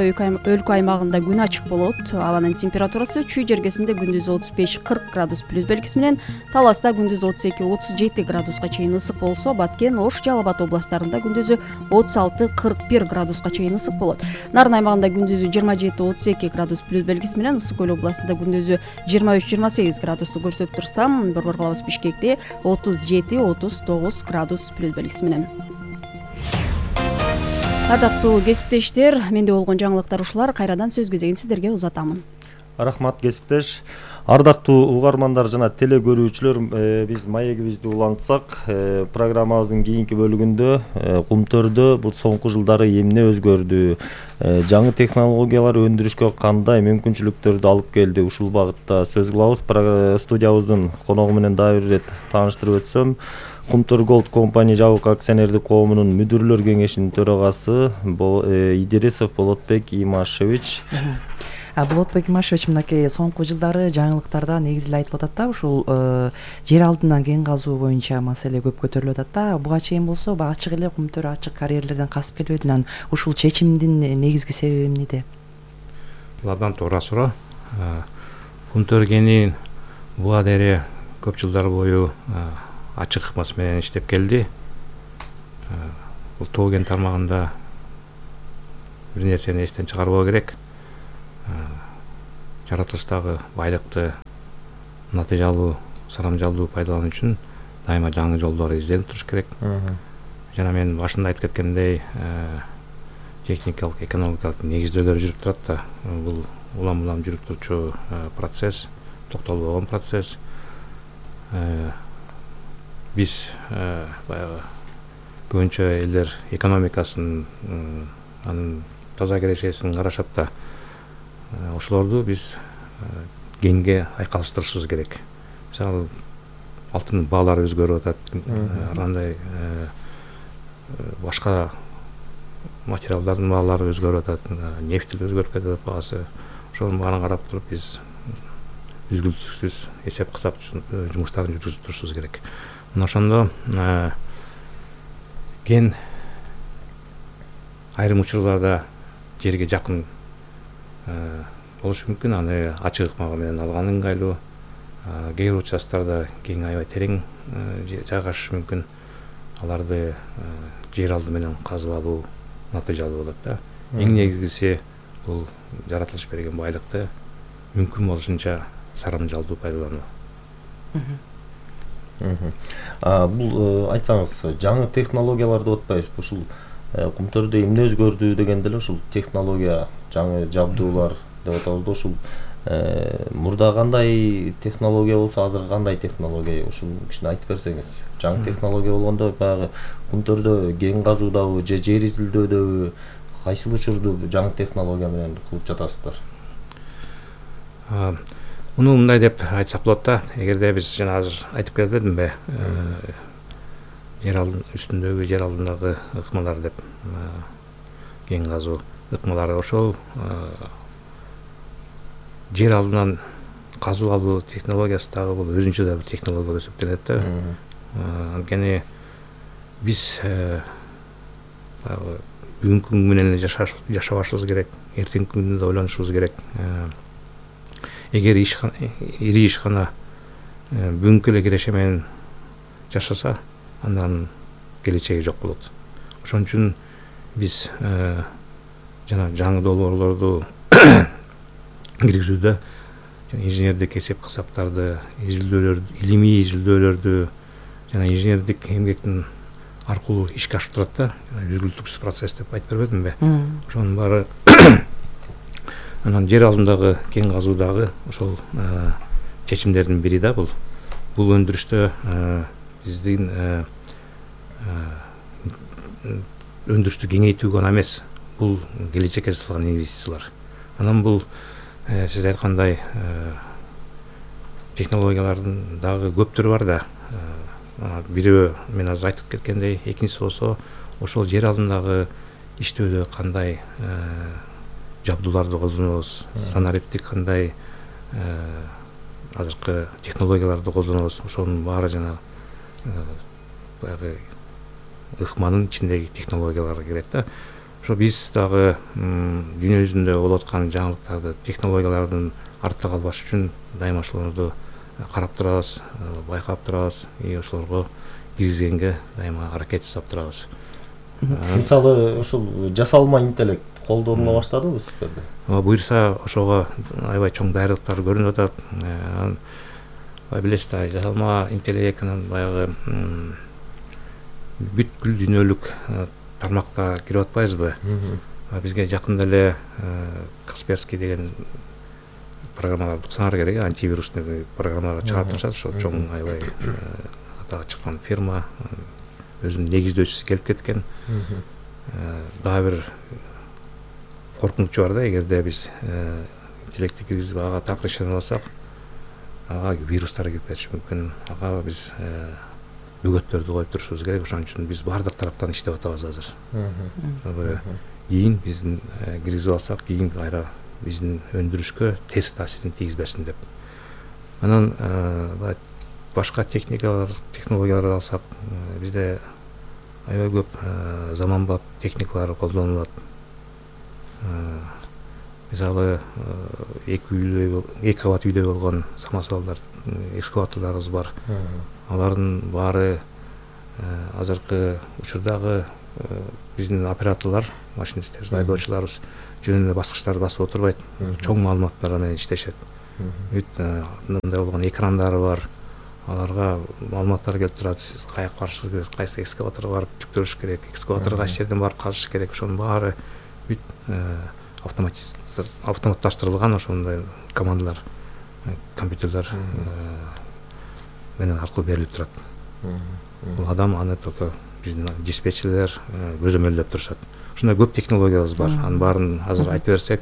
өлкө аймагында күн ачык болот. Абанын температурасы Чүй жергесинде күндүз 35-40 градус плюс белгиси менен, Таласта күндүз 32-37 градуска чейин ысык болсо, Баткен, Ош, Жалал Абад областарында күндүзү 36-41 градуска чейин ысык болот. Нарын аймагында күндүзү 27-32 градус плюс белгиси менен, Ысык көл областында күндүзү 23-28 градусту көрсөтүп турса, борбор калабыз Бишкекте 37-39 градус плюс белгиси менен. Ардактуу кесиптештер, менде болгон жаңылыктар ушулар. Кайрадан сөз кезегин сиздерге узатамын. Рахмат кесиптеш. Ардактуу угармандар жана теле көрүүчүлөр, биз маегибизди улантсак, программабыздын кийинки бөлүгүндө Кумтөрдө бул соңку жылдары эмне өзгөрдү, жаңы технологиялар өндүрүшкө кандай мүмкүнчүлүктөрдү алып келди, ушул багытта сөз кылабыз. Студиябыздын коногу менен дагы бир ирет тааныштырып өтсөм, Кумтөр Голд компания жабык акционердик коомунун мүдүрлөр кеңешинин төрагасы Идирисов Болотбек Имашевич. Болотбек Имашевич, мынакей соңку жылдары жаңылыктарда негизи айтып атат да, ушул жер алдынан кен казуу боюнча маселе көп көтөрүлүп атат да. Буга чейин болсо ачык эле Кумтөр ачык карьерлерден касып келбеди. Анан ушул чечимдин негизги себеби эмнеде? Бул абдан туура суроо. Кумтөр кени буга дере көп жылдар бою ачык ыкмасы менен иштеп келди. Бул тоо кен тармагында бир нерсени эстен чыгарбоо керек. Жаратылыштагы байлыкты натыйжалуу, сарамжалдуу пайдалануу үчүн дайыма жаңы жолдор изделип туруш керек. Жана мен башында айтып кеткендей, техникалык, экономикалык негиздөөлөр жүрүп турат да. Бул улам жүрүп турчу процесс, токтолбогон процесс. Биз баягы көбүнчө элдер экономикасын, анын таза кирешесин карашат да. Ошолорду биз кеңге айкалыштырышыбыз керек. Мисалы, алтын баалары өзгөрүп атат, андай башка материалдардын баалары өзгөрүп атат, нефть өзгөрүп кетип атат баасы. Ошонун баарын карап туруп биз үзгүлтүксүз эсеп кысап жумуштарын жүргүзүп турушубуз керек. Мына ошондо кен айрым учурларда жерге жакын болушу мүмкүн, аны ачык ыкма менен алган ыңгайлуу. Кээ бир участтарда кен аябай терең жайгашышы мүмкүн. Аларды жер алды менен казып алуу натыйжалуу болот да. Эң негизгиси бул жаратылыш берген байлыкты мүмкүн болушунча сарамжалдуу пайдалануу. Бул айтсаңыз, жаңы технологиялар деп атпайбызбы? Ушул Кумтөрдө эмне өзгөрдү дегенде эле ушул технология, жаңы жабдуулар деп атабыз да. Ушул мурда кандай технология болсо, азыр кандай технология? Ушул кичине айтып берсеңиз. Жаңы технология болгондо баягы Кумтөрдө кен казуудабы же жер изилдөөдөбү кайсыл учурду жаңы технология менен кылып жатасыздар? Муну мындай деп айтсак болот да. Эгерде биз жана азыр айтып келбедимби, жер үстүндөгү, жер алдындагы ыкмалар деп, кен казуу ыкмалары, ошол жер алдынан казуу алуу технологиясы дагы бул өзүнчө да бир технология болуп эсептелет да. Анткени биз бүгүнкү күн менен жашабашыбыз керек, эртеңки күндү да ойлонушубуз керек. Эгер ири ишкана бүгүнкү эле киреше менен жашаса, андан келечеги жок болот. Ошон үчүн биз жана жаңы долбоорлорду киргизүүдө инженердик эсеп кысаптарды, илимий изилдөөлөрдү жана инженердик эмгектин аркылуу ишке ашып турат да. Үзгүлтүксүз процесс деп айтып бербедимби? Ошонун баары анан жер алдындагы кен казуудагы ошол чечимдердин бири да бул. Бул өндүрүштө биздин өндүрүштү кеңейтүү гана эмес, бул келечекке жасалган инвестициялар. Анан бул сиз айткандай технологиялардын дагы көп түрү бар да. Бирөө мен азыр айтып кеткендей, экинчиси болсо ошол жер алдындагы иштөөдө кандай жабдууларды колдонобуз, санариптик кандай азыркы технологияларды колдонобуз, ошонун баары жана баягы ыкманын ичиндеги технологияларга кирет да. Ошо биз дагы дүйнө жүзүндө болуп аткан жаңылыктарды, технологиялардын артта калбаш үчүн дайыма ошолорду карап турабыз, байкап турабыз, ошолорго киргизгенге дайыма аракет жасап турабыз. Мисалы, ушул жасалма интеллект колдонула баштадыбы сиздерде? Буюрса ошого аябай чоң даярдыктар көрүнүп атат. Билесиз да, жасалма интеллект анан баягы бүткүл дүйнөлүк тармакта кирип атпайбызбы? Бизге жакында эле Касперский деген программалар уксаңар керек, антивирусный программалар чыгарып турушат. Ошо чоң аябай атага чыккан фирма өзүнүн негиздөөчүсү келип кеткен. Дагы бир коркунучу бар да, эгерде биз интеллектти киргизип ага так решение алсак, ага вирустар кирип кетиши мүмкүн. Ага биз бөгөттөрдү коюп турушубуз керек. Ошон үчүн биз баардык тараптан иштеп атабыз азыр. Кийин биздин киргизип алсак, кийин кайра биздин өндүрүшкө терс таасирин тийгизбесин деп. Анан башка технологияларды алсак, бизде аябай көп заманбап техникалар колдонулат. мисалы эки кабат үйдө болгон самосвалдар, экскаваторлорубуз бар. Алардын баары азыркы учурдагы биздин операторлор, машинисттер, айдоочуларыбыз жөн эле баскычтарды басып отурбайт, чоң маалыматтар менен иштешет. Мындай болгон экрандары бар, аларга маалыматтар келип турат. Сиз каяка барышыңыз керек, кайсы экскаваторго барып жүктөрүш керек, экскаваторго кайсы жерден барып казыш керек, ошонун баары автоматташтырылган ошондой командалар, компьютерлер менен аркылуу берилип турат. Бул адам аны только биздин диспетчерлер көзөмөлдөп турушат. Ушундай көп технологиябыз бар. Анын баарын азыр айтып берсек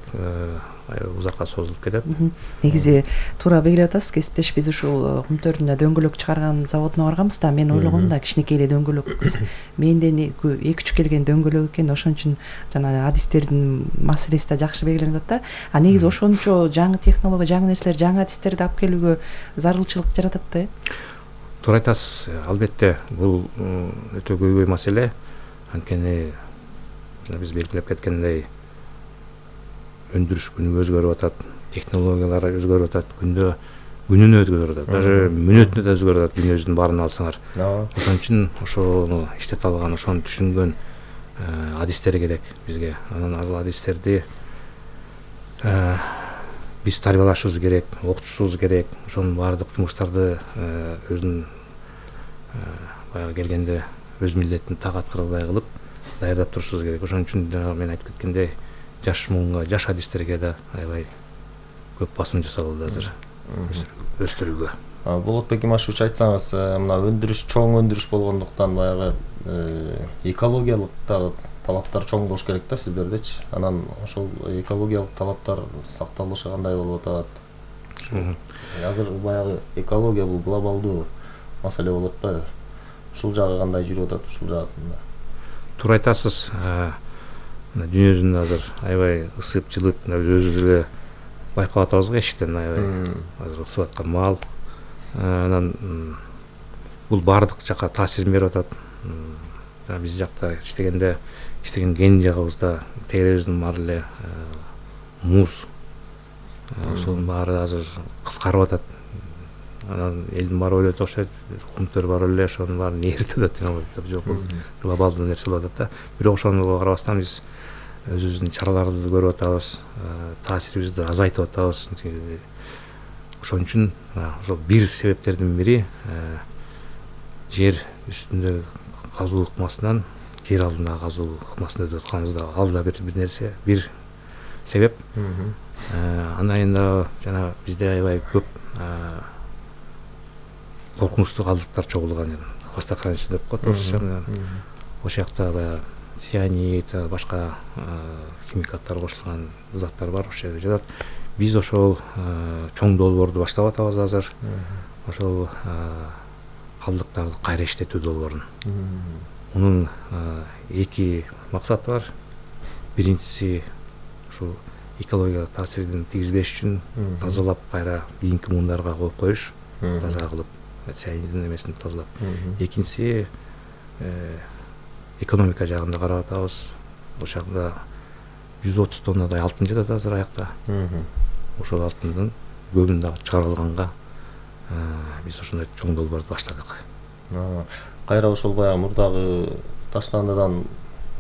узакка созулуп кетет. Негизи туура белгилеп атасыз, кесиптеш. Биз ушул Кумтөрдүнө дөңгөлөк чыгарган заводуна барганбыз да, мен ойлогом да кичинекей эле дөңгөлөк. Менден 2-3 келген дөңгөлөк экен, ошон үчүн жана адистердин маселеси да жакшы белгиленип атат да. А негизи ошончо жаңы технология, жаңы нерселер, жаңы адистерди алып келүүгө зарылчылык жаратат да. Туура айтасыз. Албетте бул өтө көйгөй маселе. Анткени биз белгилеп кеткендей өндүрүш күнүгө өзгөрүп атат, технологиялар өзгөрүп атат, күнүнө өзгөрүп атат, даже мүнөтүнө да өзгөрүп атат. Дүйнөбүздүн баарын алсаңар. Ошон үчүн ошону иштете алган, ошону түшүнгөн адистер керек бизге. Анан ал адистерди биз тарбиялашыбыз керек, окутушубуз керек. Ошонун баардык жумуштарды өзүнүн баягы келгенде өз милдетин так аткаргандай кылып даярдап турушубуз керек. Ошон үчүн жана мен айтып кеткендей, жаш муунга, жаш адистерге да аябай көп басым жасалды азыр өстүрүүгө. Болотбек Имашевич, айтсаңыз, мына өндүрүш чоң өндүрүш болгондуктан баягы экологиялык дагы талаптар чоң болуш керек да сиздердечи. Анан ошол экологиялык талаптар сакталышы кандай болуп атат? Азыр баягы экология бул глобалдуу маселе болот да. Ушул жагы кандай жүрүп атат, ушул жагында? Туура айтасыз. Дүйнө жүзүндө азыр аябай ысып, жылып, өзүбүз эле байкап атабыз го эшиктен аябай азыр ысып аткан маал. Анан бул баардык жака таасирин берип атат. Биз жакта иштеген кен жагыбызда тегеребиздин баары эле муз. Ошонун баары азыр кыскарып атат. Анан элдин баары ойлойт окшойт, Кумтөр бар эле ошонун баарын ээритип атат. Жок, бул глобалдуу нерсе болуп атат да. Бирок ошону карабастан биз өзүбүздүн чараларды көрүп атабыз, таасирибизди азайтып атабыз. Ошон үчүн ошол бир себептердин бири жер үстүндө казуу ыкмасынан жер алдындагы казуу ыкмасын өтүп атканыбызда, ал да бир нерсе, бир себеп. Андан да жана бизде аябай көп коркунучтуу калдыктар чогулган, хвостохранилище деп коет орусча. Ошол жакта баягы цианид, башка химикаттар кошулган заттар бар, ошол жерде жатат. Биз ошол чоң долбоорду баштап атабыз азыр. Ошол калдыктарды кайра иштетүү долбоорун. Мунун эки максаты бар. Биринчиси ушул экологияга таасирин тийгизбеш үчүн тазалап, кайра кийинки муундарга коюп коюш, таза кылып, цианидин эмесин тазалап. Экинчиси экономика жагында карап атабыз. Ошол жакта 130 тоннадай алтын жатат азыр аякта. Ошол алтындын көбүн дагы чыгарып алганга биз ошондой чоң долбоорду баштадык. Кайра ошол баягы мурдагы таштандадан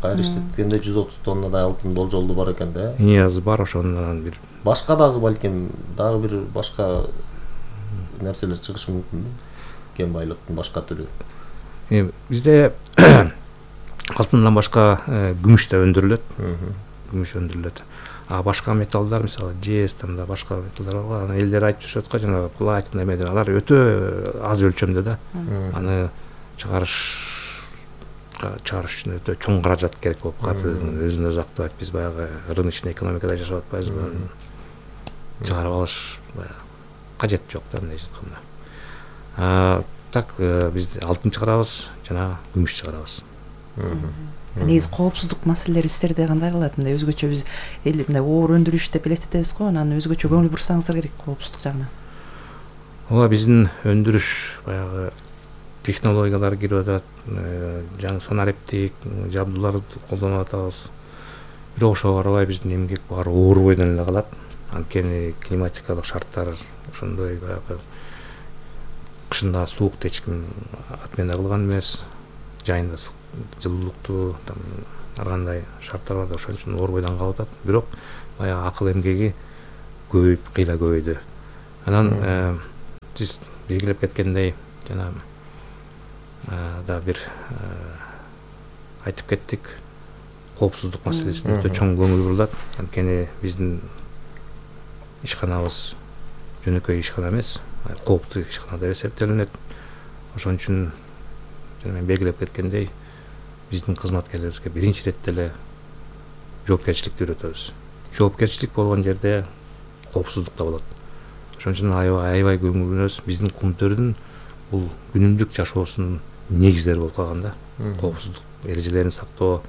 кайра иштеткенде 130 тоннадай алтын болжолду бар экен да. Азыр бар ошондон бир башка дагы балким дагы бир башка нерселер чыгышы мүмкүнбү? Кен байлыктын башка түрү. Бизде алтындан башка күмүш да өндүрүлөт. Күмүш өндүрүлөт. А башка металлдар, мисалы жез, да башка металлдар бар. Аны элдер айтып жүрөт го, жана платина эмне, алар өтө аз өлчөмдө да. Аны чыгарыш үчүн өтө чоң каражат керек болуп калат. Өзүн өзү актабайт. Биз баягы рыночный экономикада жашап атпайбызбы? Чыгарып алыш кажет жок да, мындай айтканда. Так биз алтын чыгарабыз жана күмүш чыгарабыз. Негизи коопсуздук маселелери сиздерде кандай калат? Мындай өзгөчө биз мындай оор өндүрүш деп элестетебиз го, анан өзгөчө көңүл бурсаңыздар керек коопсуздук жагына. Ооба, биздин өндүрүш баягы технологиялар кирип атат, жаңы санариптик жабдууларды колдонуп атабыз. бирок ошого карабай биздин эмгек баары оор бойдон эле калат. Анткени климатикалык шарттар ошондой баягы кышында суукту эч ким отмена кылган эмес, жайында жылуулукту ар кандай шарттар бар да ошон үчүн оор бойдон калып атат. Бирок баягы акыл эмгеги көбөйүп, кыйла көбөйдү. Анан сиз белгилеп кеткендей жана да бир айтып кеттик, коопсуздук маселесине өтө чоң көңүл бурулат. Анткени биздин ишканабыз жөнөкөй ишкана эмес, кооптуу ишкана деп эсептелинет. Ошон үчүн жана мен белгилеп кеткендей, биздин кызматкерлерибизге биринчи иретте эле жоопкерчиликти үйрөтөбүз. Жоопкерчилик болгон жерде коопсуздук да болот. Ошон үчүн аябай көңүлүбүз биздин кумтөрдүн бул күнүмдүк жашоосунун негиздери болуп калган да. Коопсуздук эрежелерин сактоо,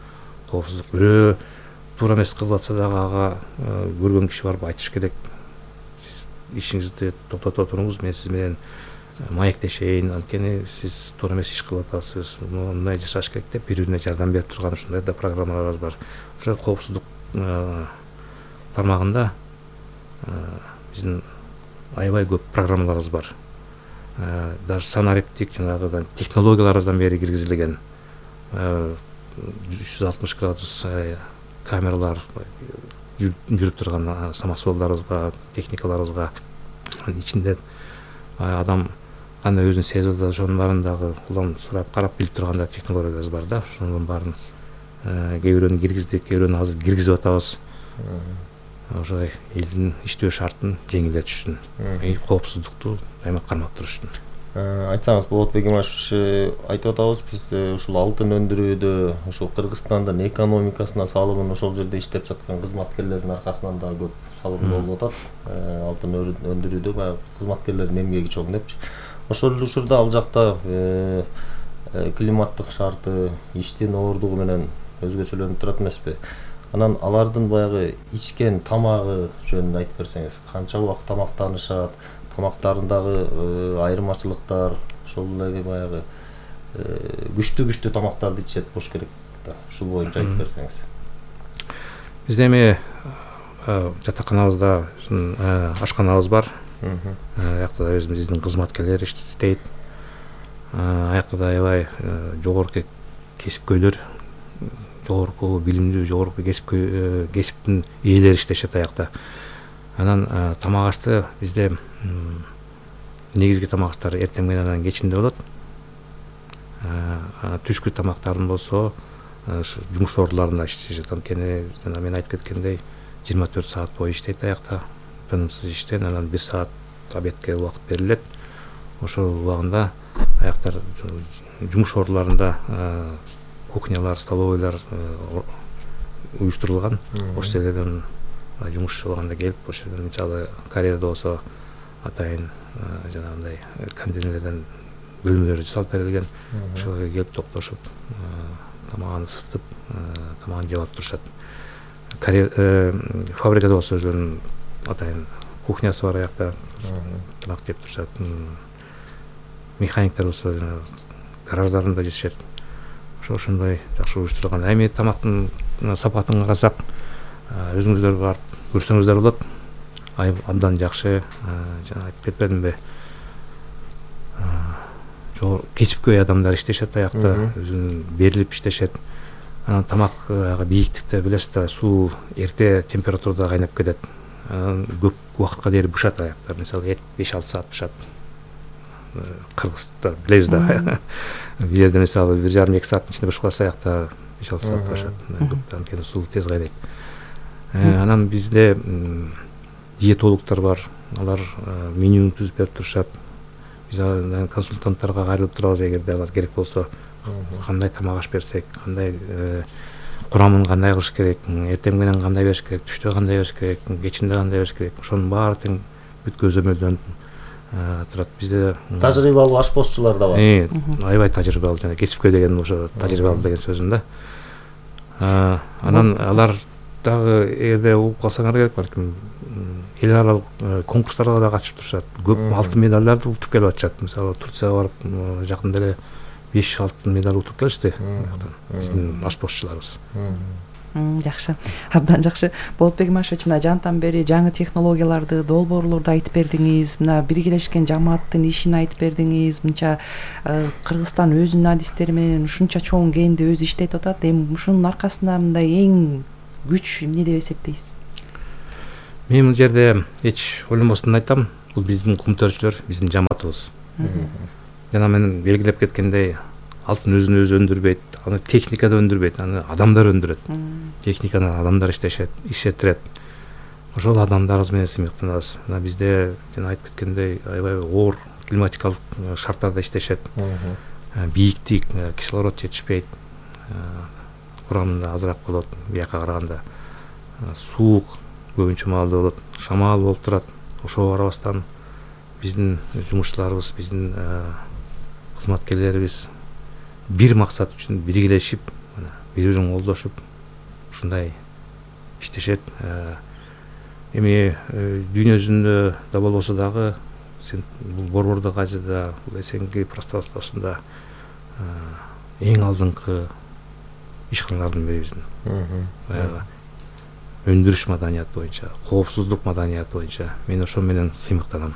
коопсуздук бирөө туура эмес кылып атса дагы ага көргөн киши барып айтыш керек. Сиз ишиңизди токтото туруңуз, мен сиз менен маектешейин, анткени сиз туура эмес иш кылып атасыз, мындай жашаш керек деп бири-бирине жардам берип турган ушундай да программаларыбыз бар. Ошо коопсуздук тармагында биздин аябай көп программаларыбыз бар. Даже санариптик жанагы технологияларыбыздан бери киргизилген 360 градус камералар жүрүп турган самосвалдарыбызга, техникаларыбызга, ичинде адам кандай өзүн сезип атат, ошонун баарын дагы улам сурап карап билип турган технологияларыбыз бар да. Ошонун баарын кээ бирөөнү киргиздик, кээ бирөөнү азыр киргизип атабыз. Ошой элдин иштөө шартын жеңилдетиш үчүн, коопсуздукту дайыма кармап туруш үчүн. Айтсаңыз Болотбек Имашевич, айтып атабыз, биз ушул алтын өндүрүүдө, ушул Кыргызстандын экономикасына салымын ошол жерде иштеп жаткан кызматкерлердин аркасынан да көп салым болуп атат. Алтын өндүрүүдө баягы кызматкерлердин эмгеги чоң депчи. Ошол эле учурда ал жакта климаттык шарты, иштин оордугу менен өзгөчөлөнүп турат эмеспи? Анан алардын баягы ичкен тамагы жөнүндө айтып берсеңиз, канча убакыт тамактанышат, тамактарындагы айырмачылыктар, ошол эле баягы күчтүү тамактарды ичет болуш керек да. Ушул боюнча айтып берсеңиз. Бизде эми жатаканабызда ашканабыз бар. Аякта да өзүбүздүн кызматкерлер иштейт. Аякта да аябай жогорку кесипкөйлөр, жогорку билимдүү, жогорку кесиптин ээлери иштешет аякта. Анан тамак ашты бизде негизги тамак аштар эртең менен кечинде болот. Түшкү тамактарын болсо жумуш ооруларында иштешет. Анткени жана мен айтып кеткендей 24 саат бою иштейт аякта, тынымсыз иштен. Анан 1 саат обедке убакыт берилет. Ошол убагында аяктар жумуш ооруларында кухнялар, столовойлар уюштурулган. Ошол жерден жумуш болгондо келип, ошол жерден мисалы Кореяда болсо атайын жанагындай контейнерлерден бөлмөлөр жасалып берилген. Ошого келип токтошуп, тамагын ысытып, тамагын жеп алып турушат. Фабрикада болсо өзүнүн атайын кухнясы бар аякта, тамак жеп турушат. Механиктер болсо гараждарында жешет. Ошондой жакшы уюштурулган. Эми тамактын сапатын карасак, өзүңүздөр барып көрсөңүздөр болот. Абдан жакшы, жана айтып кетпедимби? Кесипкөй адамдар иштешет аякта, өзүн берилип иштешет. Анан тамак бийиктикте билесиз да, суу эрте температурада кайнап кетет. Көп убакытка дейин бышат аяктар. Мисалы 5-6 саат бышат. Кыргыздар билебиз да. Бул жерде мисалы 1,5-2 сааттын ичинде бышып калса аякта 5-6 саат бышат. Анткени суу тез кайнайт. Анан бизде диетологдор бар. Алар меню түзүп берип турушат. Биз консультанттарга кайрылып турабыз, эгерде алар керек болсо, кандай тамак аш берсек, кандай курамын кандай кылыш керек, эртең менен кандай бериш керек, түштө кандай бериш керек, кечинде кандай бериш керек, ошонун баары тең бүт көзөмөлдөнүп турат. Бизде тажрыйбалуу ашпозчулар да бар. Аябай тажрыйбалуу, жана кесипкөй деген ошо тажрыйбалуу деген сөзүм да. Анан алар дагы эгерде угуп калсаңар керек, балким эл аралык конкурстарга да катышып турушат. Көп алтын медалдарды утуп келип атышат. Мисалы Турцияга барып жакында эле 5 алтын медаль утуп келишти. Биздин ашпозчуларыбыз. Жакшы, абдан жакшы. Болотбек Имашевич, мына жантан бери жаңы технологияларды, долбоорлорду айтып бердиңиз, мына биргелешкен жамааттын ишин айтып бердиңиз. Мынча Кыргызстан өзүнүн адистери менен ушунча чоң кенди өзү иштетип атат. Эми ушунун аркасында мындай эң күч эмне деп эсептейсиз? Мен бул жерде эч ойлонбостон айтам, бул биздин кумтөрчүлөр, биздин жамаатыбыз. Жана мен белгилеп кеткендей, алтын өзүн өзү өндүрбөйт, аны техника да өндүрбөйт, аны адамдар өндүрөт. Техниканы адамдар иштеттирет. Ошол адамдарыбыз менен сыймыктанабыз. Мына бизде жана айтып кеткендей, аябай оор климатикалык шарттарда иштешет. Бийиктик, кислород жетишпейт, курамында азыраак болот бияка караганда. Суук көбүнчө маалда болот, шамал болуп турат. Ошого карабастан биздин жумушчуларыбыз, биздин кызматкерлерибиз бир максат үчүн биргелешип, бири бирин колдошуп ушундай иштешет. Эми дүйнө жүзүндө да болбосо дагы бул борбордук Азияда, бул СНГ пространствосунда эң алдыңкы ишканалардын бири биздин. Баягы өндүрүш маданияты боюнча, коопсуздук маданияты боюнча мен ошо менен сыймыктанам.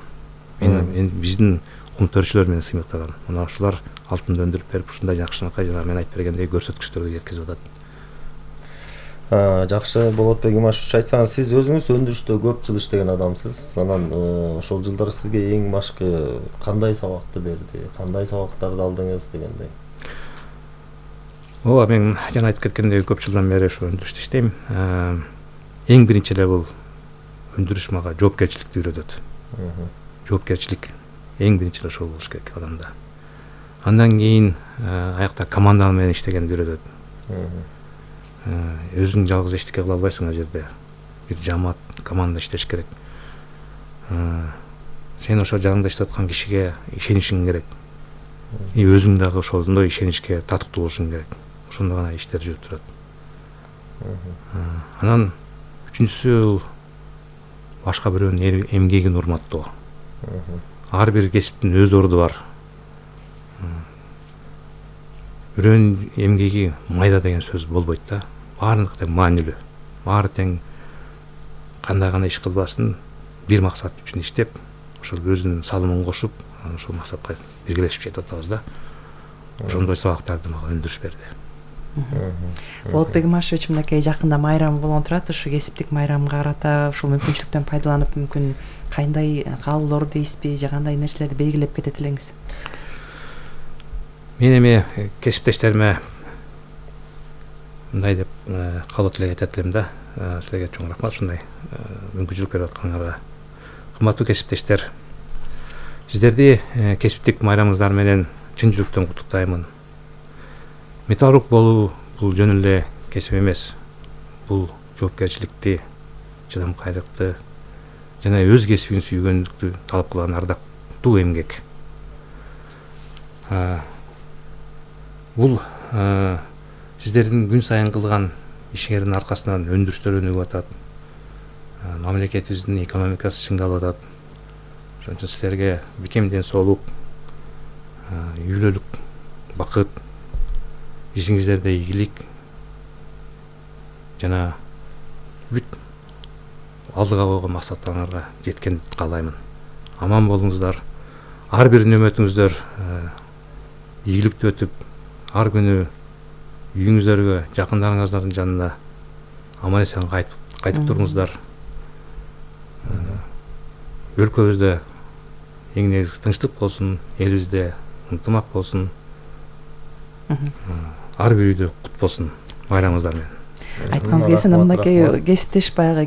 Мен биздин кумтөрчүлөр менен сыймыктанам. Мына ушулар алтынды өндүрүп берип, ушундай жакшынакай жана мен айтып бергендей көрсөткүчтөргө жеткизип атат. Жакшы, Болотбек Имашевич, айтсаңыз, сиз өзүңүз өндүрүштө көп жыл иштеген адамсыз. Анан ошол жылдар сизге эң башкы кандай сабакты берди, кандай сабактарды алдыңыз дегендей? Ооба, мен жана айтып кеткендей көп жылдан бери ошо өндүрүштө иштейм. Эң биринчи эле бул өндүрүш мага жоопкерчиликти үйрөтөт. Жоопкерчилик эң биринчи эле ошол болуш керек адамда. Андан кийин аякта команда менен иштегенди үйрөтөт. Өзүң жалгыз эчтеке кыла албайсың ал жерде. Бир жамаат, команда иштеш керек. Сен ошо жаныңда иштеп аткан кишиге ишенишиң керек. И өзүң дагы ошондой ишеничке татыктуу болушуң керек. Ошондо гана иштер жүрүп турат. Анан үчүнчүсү башка бирөөнүн эмгегин урматтоо. Ар бир кесиптин өз орду бар. Бирөөнүн эмгеги майда деген сөз болбойт да. Баардык тең маанилүү. Баары тең кандай гана иш кылбасын, бир максат үчүн иштеп, ошол өзүнүн салымын кошуп, ошол максатка биргелешип жетип атабыз да. Ошондой сабактарды мага өндүрүш берди. Болотбек Имашевич, мынакей жакында майрам болгон турат. Ушу кесиптик майрамга карата ушул мүмкүнчүлүктөн пайдаланып, мүмкүн кандай каалоолор дейсизби, же кандай нерселерди белгилеп кетет элеңиз? Мен эми кесиптештериме мындай деп каалоо тилек айтат элем да. Силерге чоң рахмат ушундай мүмкүнчүлүк берип атканыңарга. Кымбаттуу кесиптештер, сиздерди кесиптик майрамыңыздар менен чын жүрөктөн куттуктаймын. Металлург болуу бул жөн эле кесип эмес. Бул жоопкерчиликти, чыдамкайлыкты жана өз кесибин сүйгөндүктү талап кылган ардактуу эмгек. Бул сиздердин күн сайын кылган ишиңердин аркасынан өндүрүштөр өнүгүп атат. Мамлекетибиздин экономикасы чыңдалып атат. Ошон үчүн силерге бекем ден соолук, үйлөлүк бакыт, ишиңиздерде ийгилик жана бүт алдыга койгон максаттарыңарга жеткенди каалаймын. Аман болуңуздар. Ар бир нөмөтүңүздөр ийгиликтүү өтүп, ар күнү үйүңүздөргө, жакындарыңыздардын жанына аман эсен кайтып туруңуздар. Өлкөбүздө эң негизги тынчтык болсун, элибизде ынтымак болсун. Ар бир үйдө кут болсун майрамыңыздар менен. Айтканыңыз келсе, мынакей кесиптеш баягы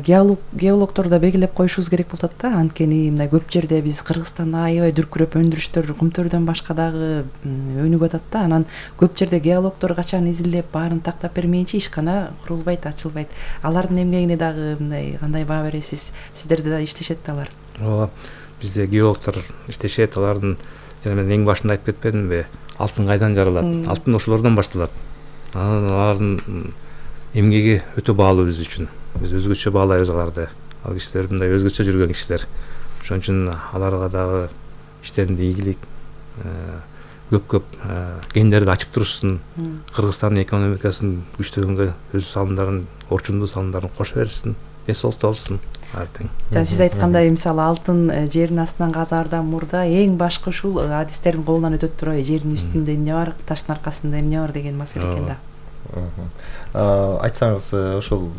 геологторду белгилеп коюшубуз керек болуп атат да. Анткени мына көп жерде биз Кыргызстанда аябай дүркүрөп өндүрүштөр кумтөрдөн башка дагы өнүгүп атат да. Анан көп жерде геологтор качан изилдеп баарын тактап бермейинче ишкана курулбайт, ачылбайт. Алардын эмгегине дагы мындай кандай баа бересиз? Сиздерде да иштешет да алар. Ооба, бизде геологтор иштешет, алардын жана мен эң башында айтып кетпедимби? Алтын кайдан жаралат? Алтын ошолордон башталат. Алардын эмгеги өтө баалуу биз үчүн. Биз өзгөчө баалайбыз аларды. Ал кишилер мындай өзгөчө жүргөн кишилер. Ошон үчүн аларга дагы иштеринде ийгилик, көп кендерди ачып турушсын, Кыргызстандын экономикасын күчтөгөнгө өз салымдарын, орчундуу салымдарын кошо беришsin, эсолто болсун артең. Жана сиз айткандай мисалы алтын жердин астынан казаардан мурда эң башкы ушул адистердин колунан өтөт турбайбы, жердин үстүндө эмне бар, таштын аркасында эмне бар деген маселе экен да. Айтсаңыз, ошол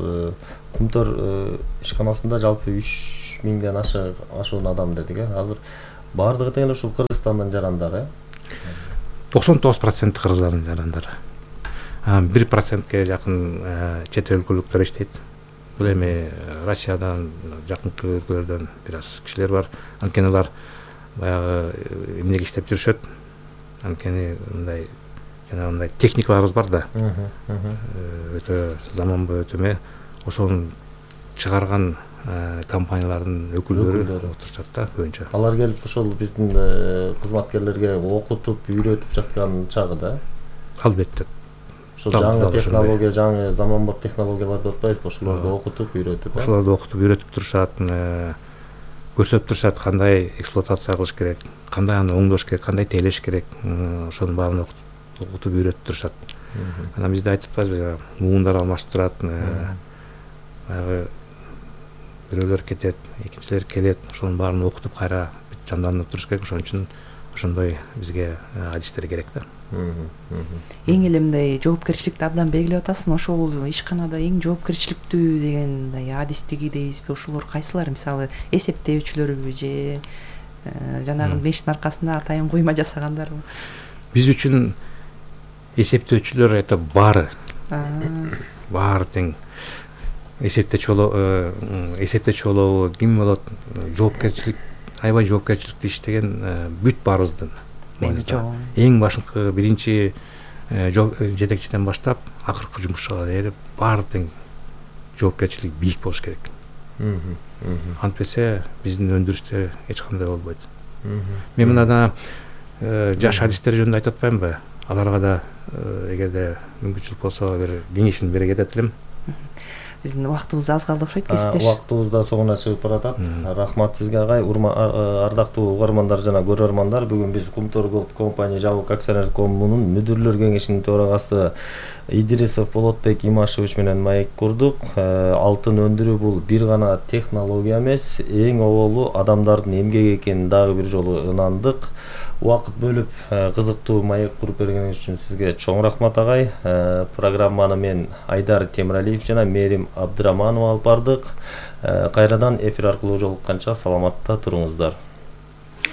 Кумтөр ишканасында жалпы 3000ден ашуун адам дедик. Азыр баардыгы тең ушул Кыргызстандын жарандары. 99% кыргыздардын жарандары. 1%ке жакын чет өлкөлүктөр иштейт. Бул эми Россиядан, жакынкы өлкөлөрдөн бир аз кишилер бар. Анткени алар баягы эмнеге иштеп жүрүшөт. Анткени мындай жана мындай техникаларыбыз бар да. Өтө заманбай өтө ошонун чыгарган компаниялардын өкүлдөрү отурушат да көбүнчө. Алар келип ошол биздин кызматкерлерге окутуп, үйрөтүп жаткан чагы да. Албетте. Ошол жаңы технология, жаңы заманбап технологияларды отпайбызбы, ошолорду окутуп, үйрөтүп. Ошолорду окутуп, үйрөтүп турушат, көрсөтүп турушат кандай эксплуатация кылыш керек, кандай аны оңдош керек, кандай тейлеш керек, ошонун баарын окутуп, үйрөтүп турушат. Анан бизде айтып атпайбызбы, муундар алмашып турат, баягы бирөөлөр кетет, экинчилер келет, ошонун баарын окутуп кайра жандандырып туруш керек. Ошон үчүн ошондой бизге адистер керек да. Эң эле мындай жоопкерчиликти абдан белгилеп атасың. Ошол ишканада эң жоопкерчиликтүү деген адистиги дейбизби, ошолор кайсылар? Мисалы, эсептөөчүлөрбү же жанагы мештин аркасында атайын куйма жасагандарбы? Биз үчүн эсептөөчүлөр это баары тең. Эсептечи болобу, ким болот, жоопкерчилик, аябай жоопкерчиликтүү иштеген бүт баарыбыздын мойнунда. Эң башкы биринчи жетекчиден баштап акыркы жумушчуга чейин баары тең жоопкерчилик бийик болуш керек. Антпесе биздин өндүрүштө эч кандай болбойт. Мен мына жаш адистер жөнүндө айтып атпаймынбы? Аларга да эгерде мүмкүнчүлүк болсо бир кеңешин бере кетет элем. Биздин убактыбыз аз калды окшойт, кесиптеш. Убактыбыз да соңуна чыгып баратат. Рахмат сизге агай, ардактуу угармандар жана көрөрмандар. Бүгүн биз Кумтөр Голд компания жабык акционерлик коомунун мүдүрлөр кеңешинин төрагасы Идрисов Болотбек Имашевич менен маек курдук. Алтын өндүрүү бул бир гана технология эмес, эң оболу адамдардын эмгеги экенин дагы бир жолу ынандык. Убакыт бөлүп кызыктуу маек куруп бергениңиз үчүн сизге чоң рахмат агай. Программаны мен Айдар Темиралиев жана Мерим Абдыраманова алып бардык. Кайрадан эфир аркылуу жолукканча саламатта туруңуздар.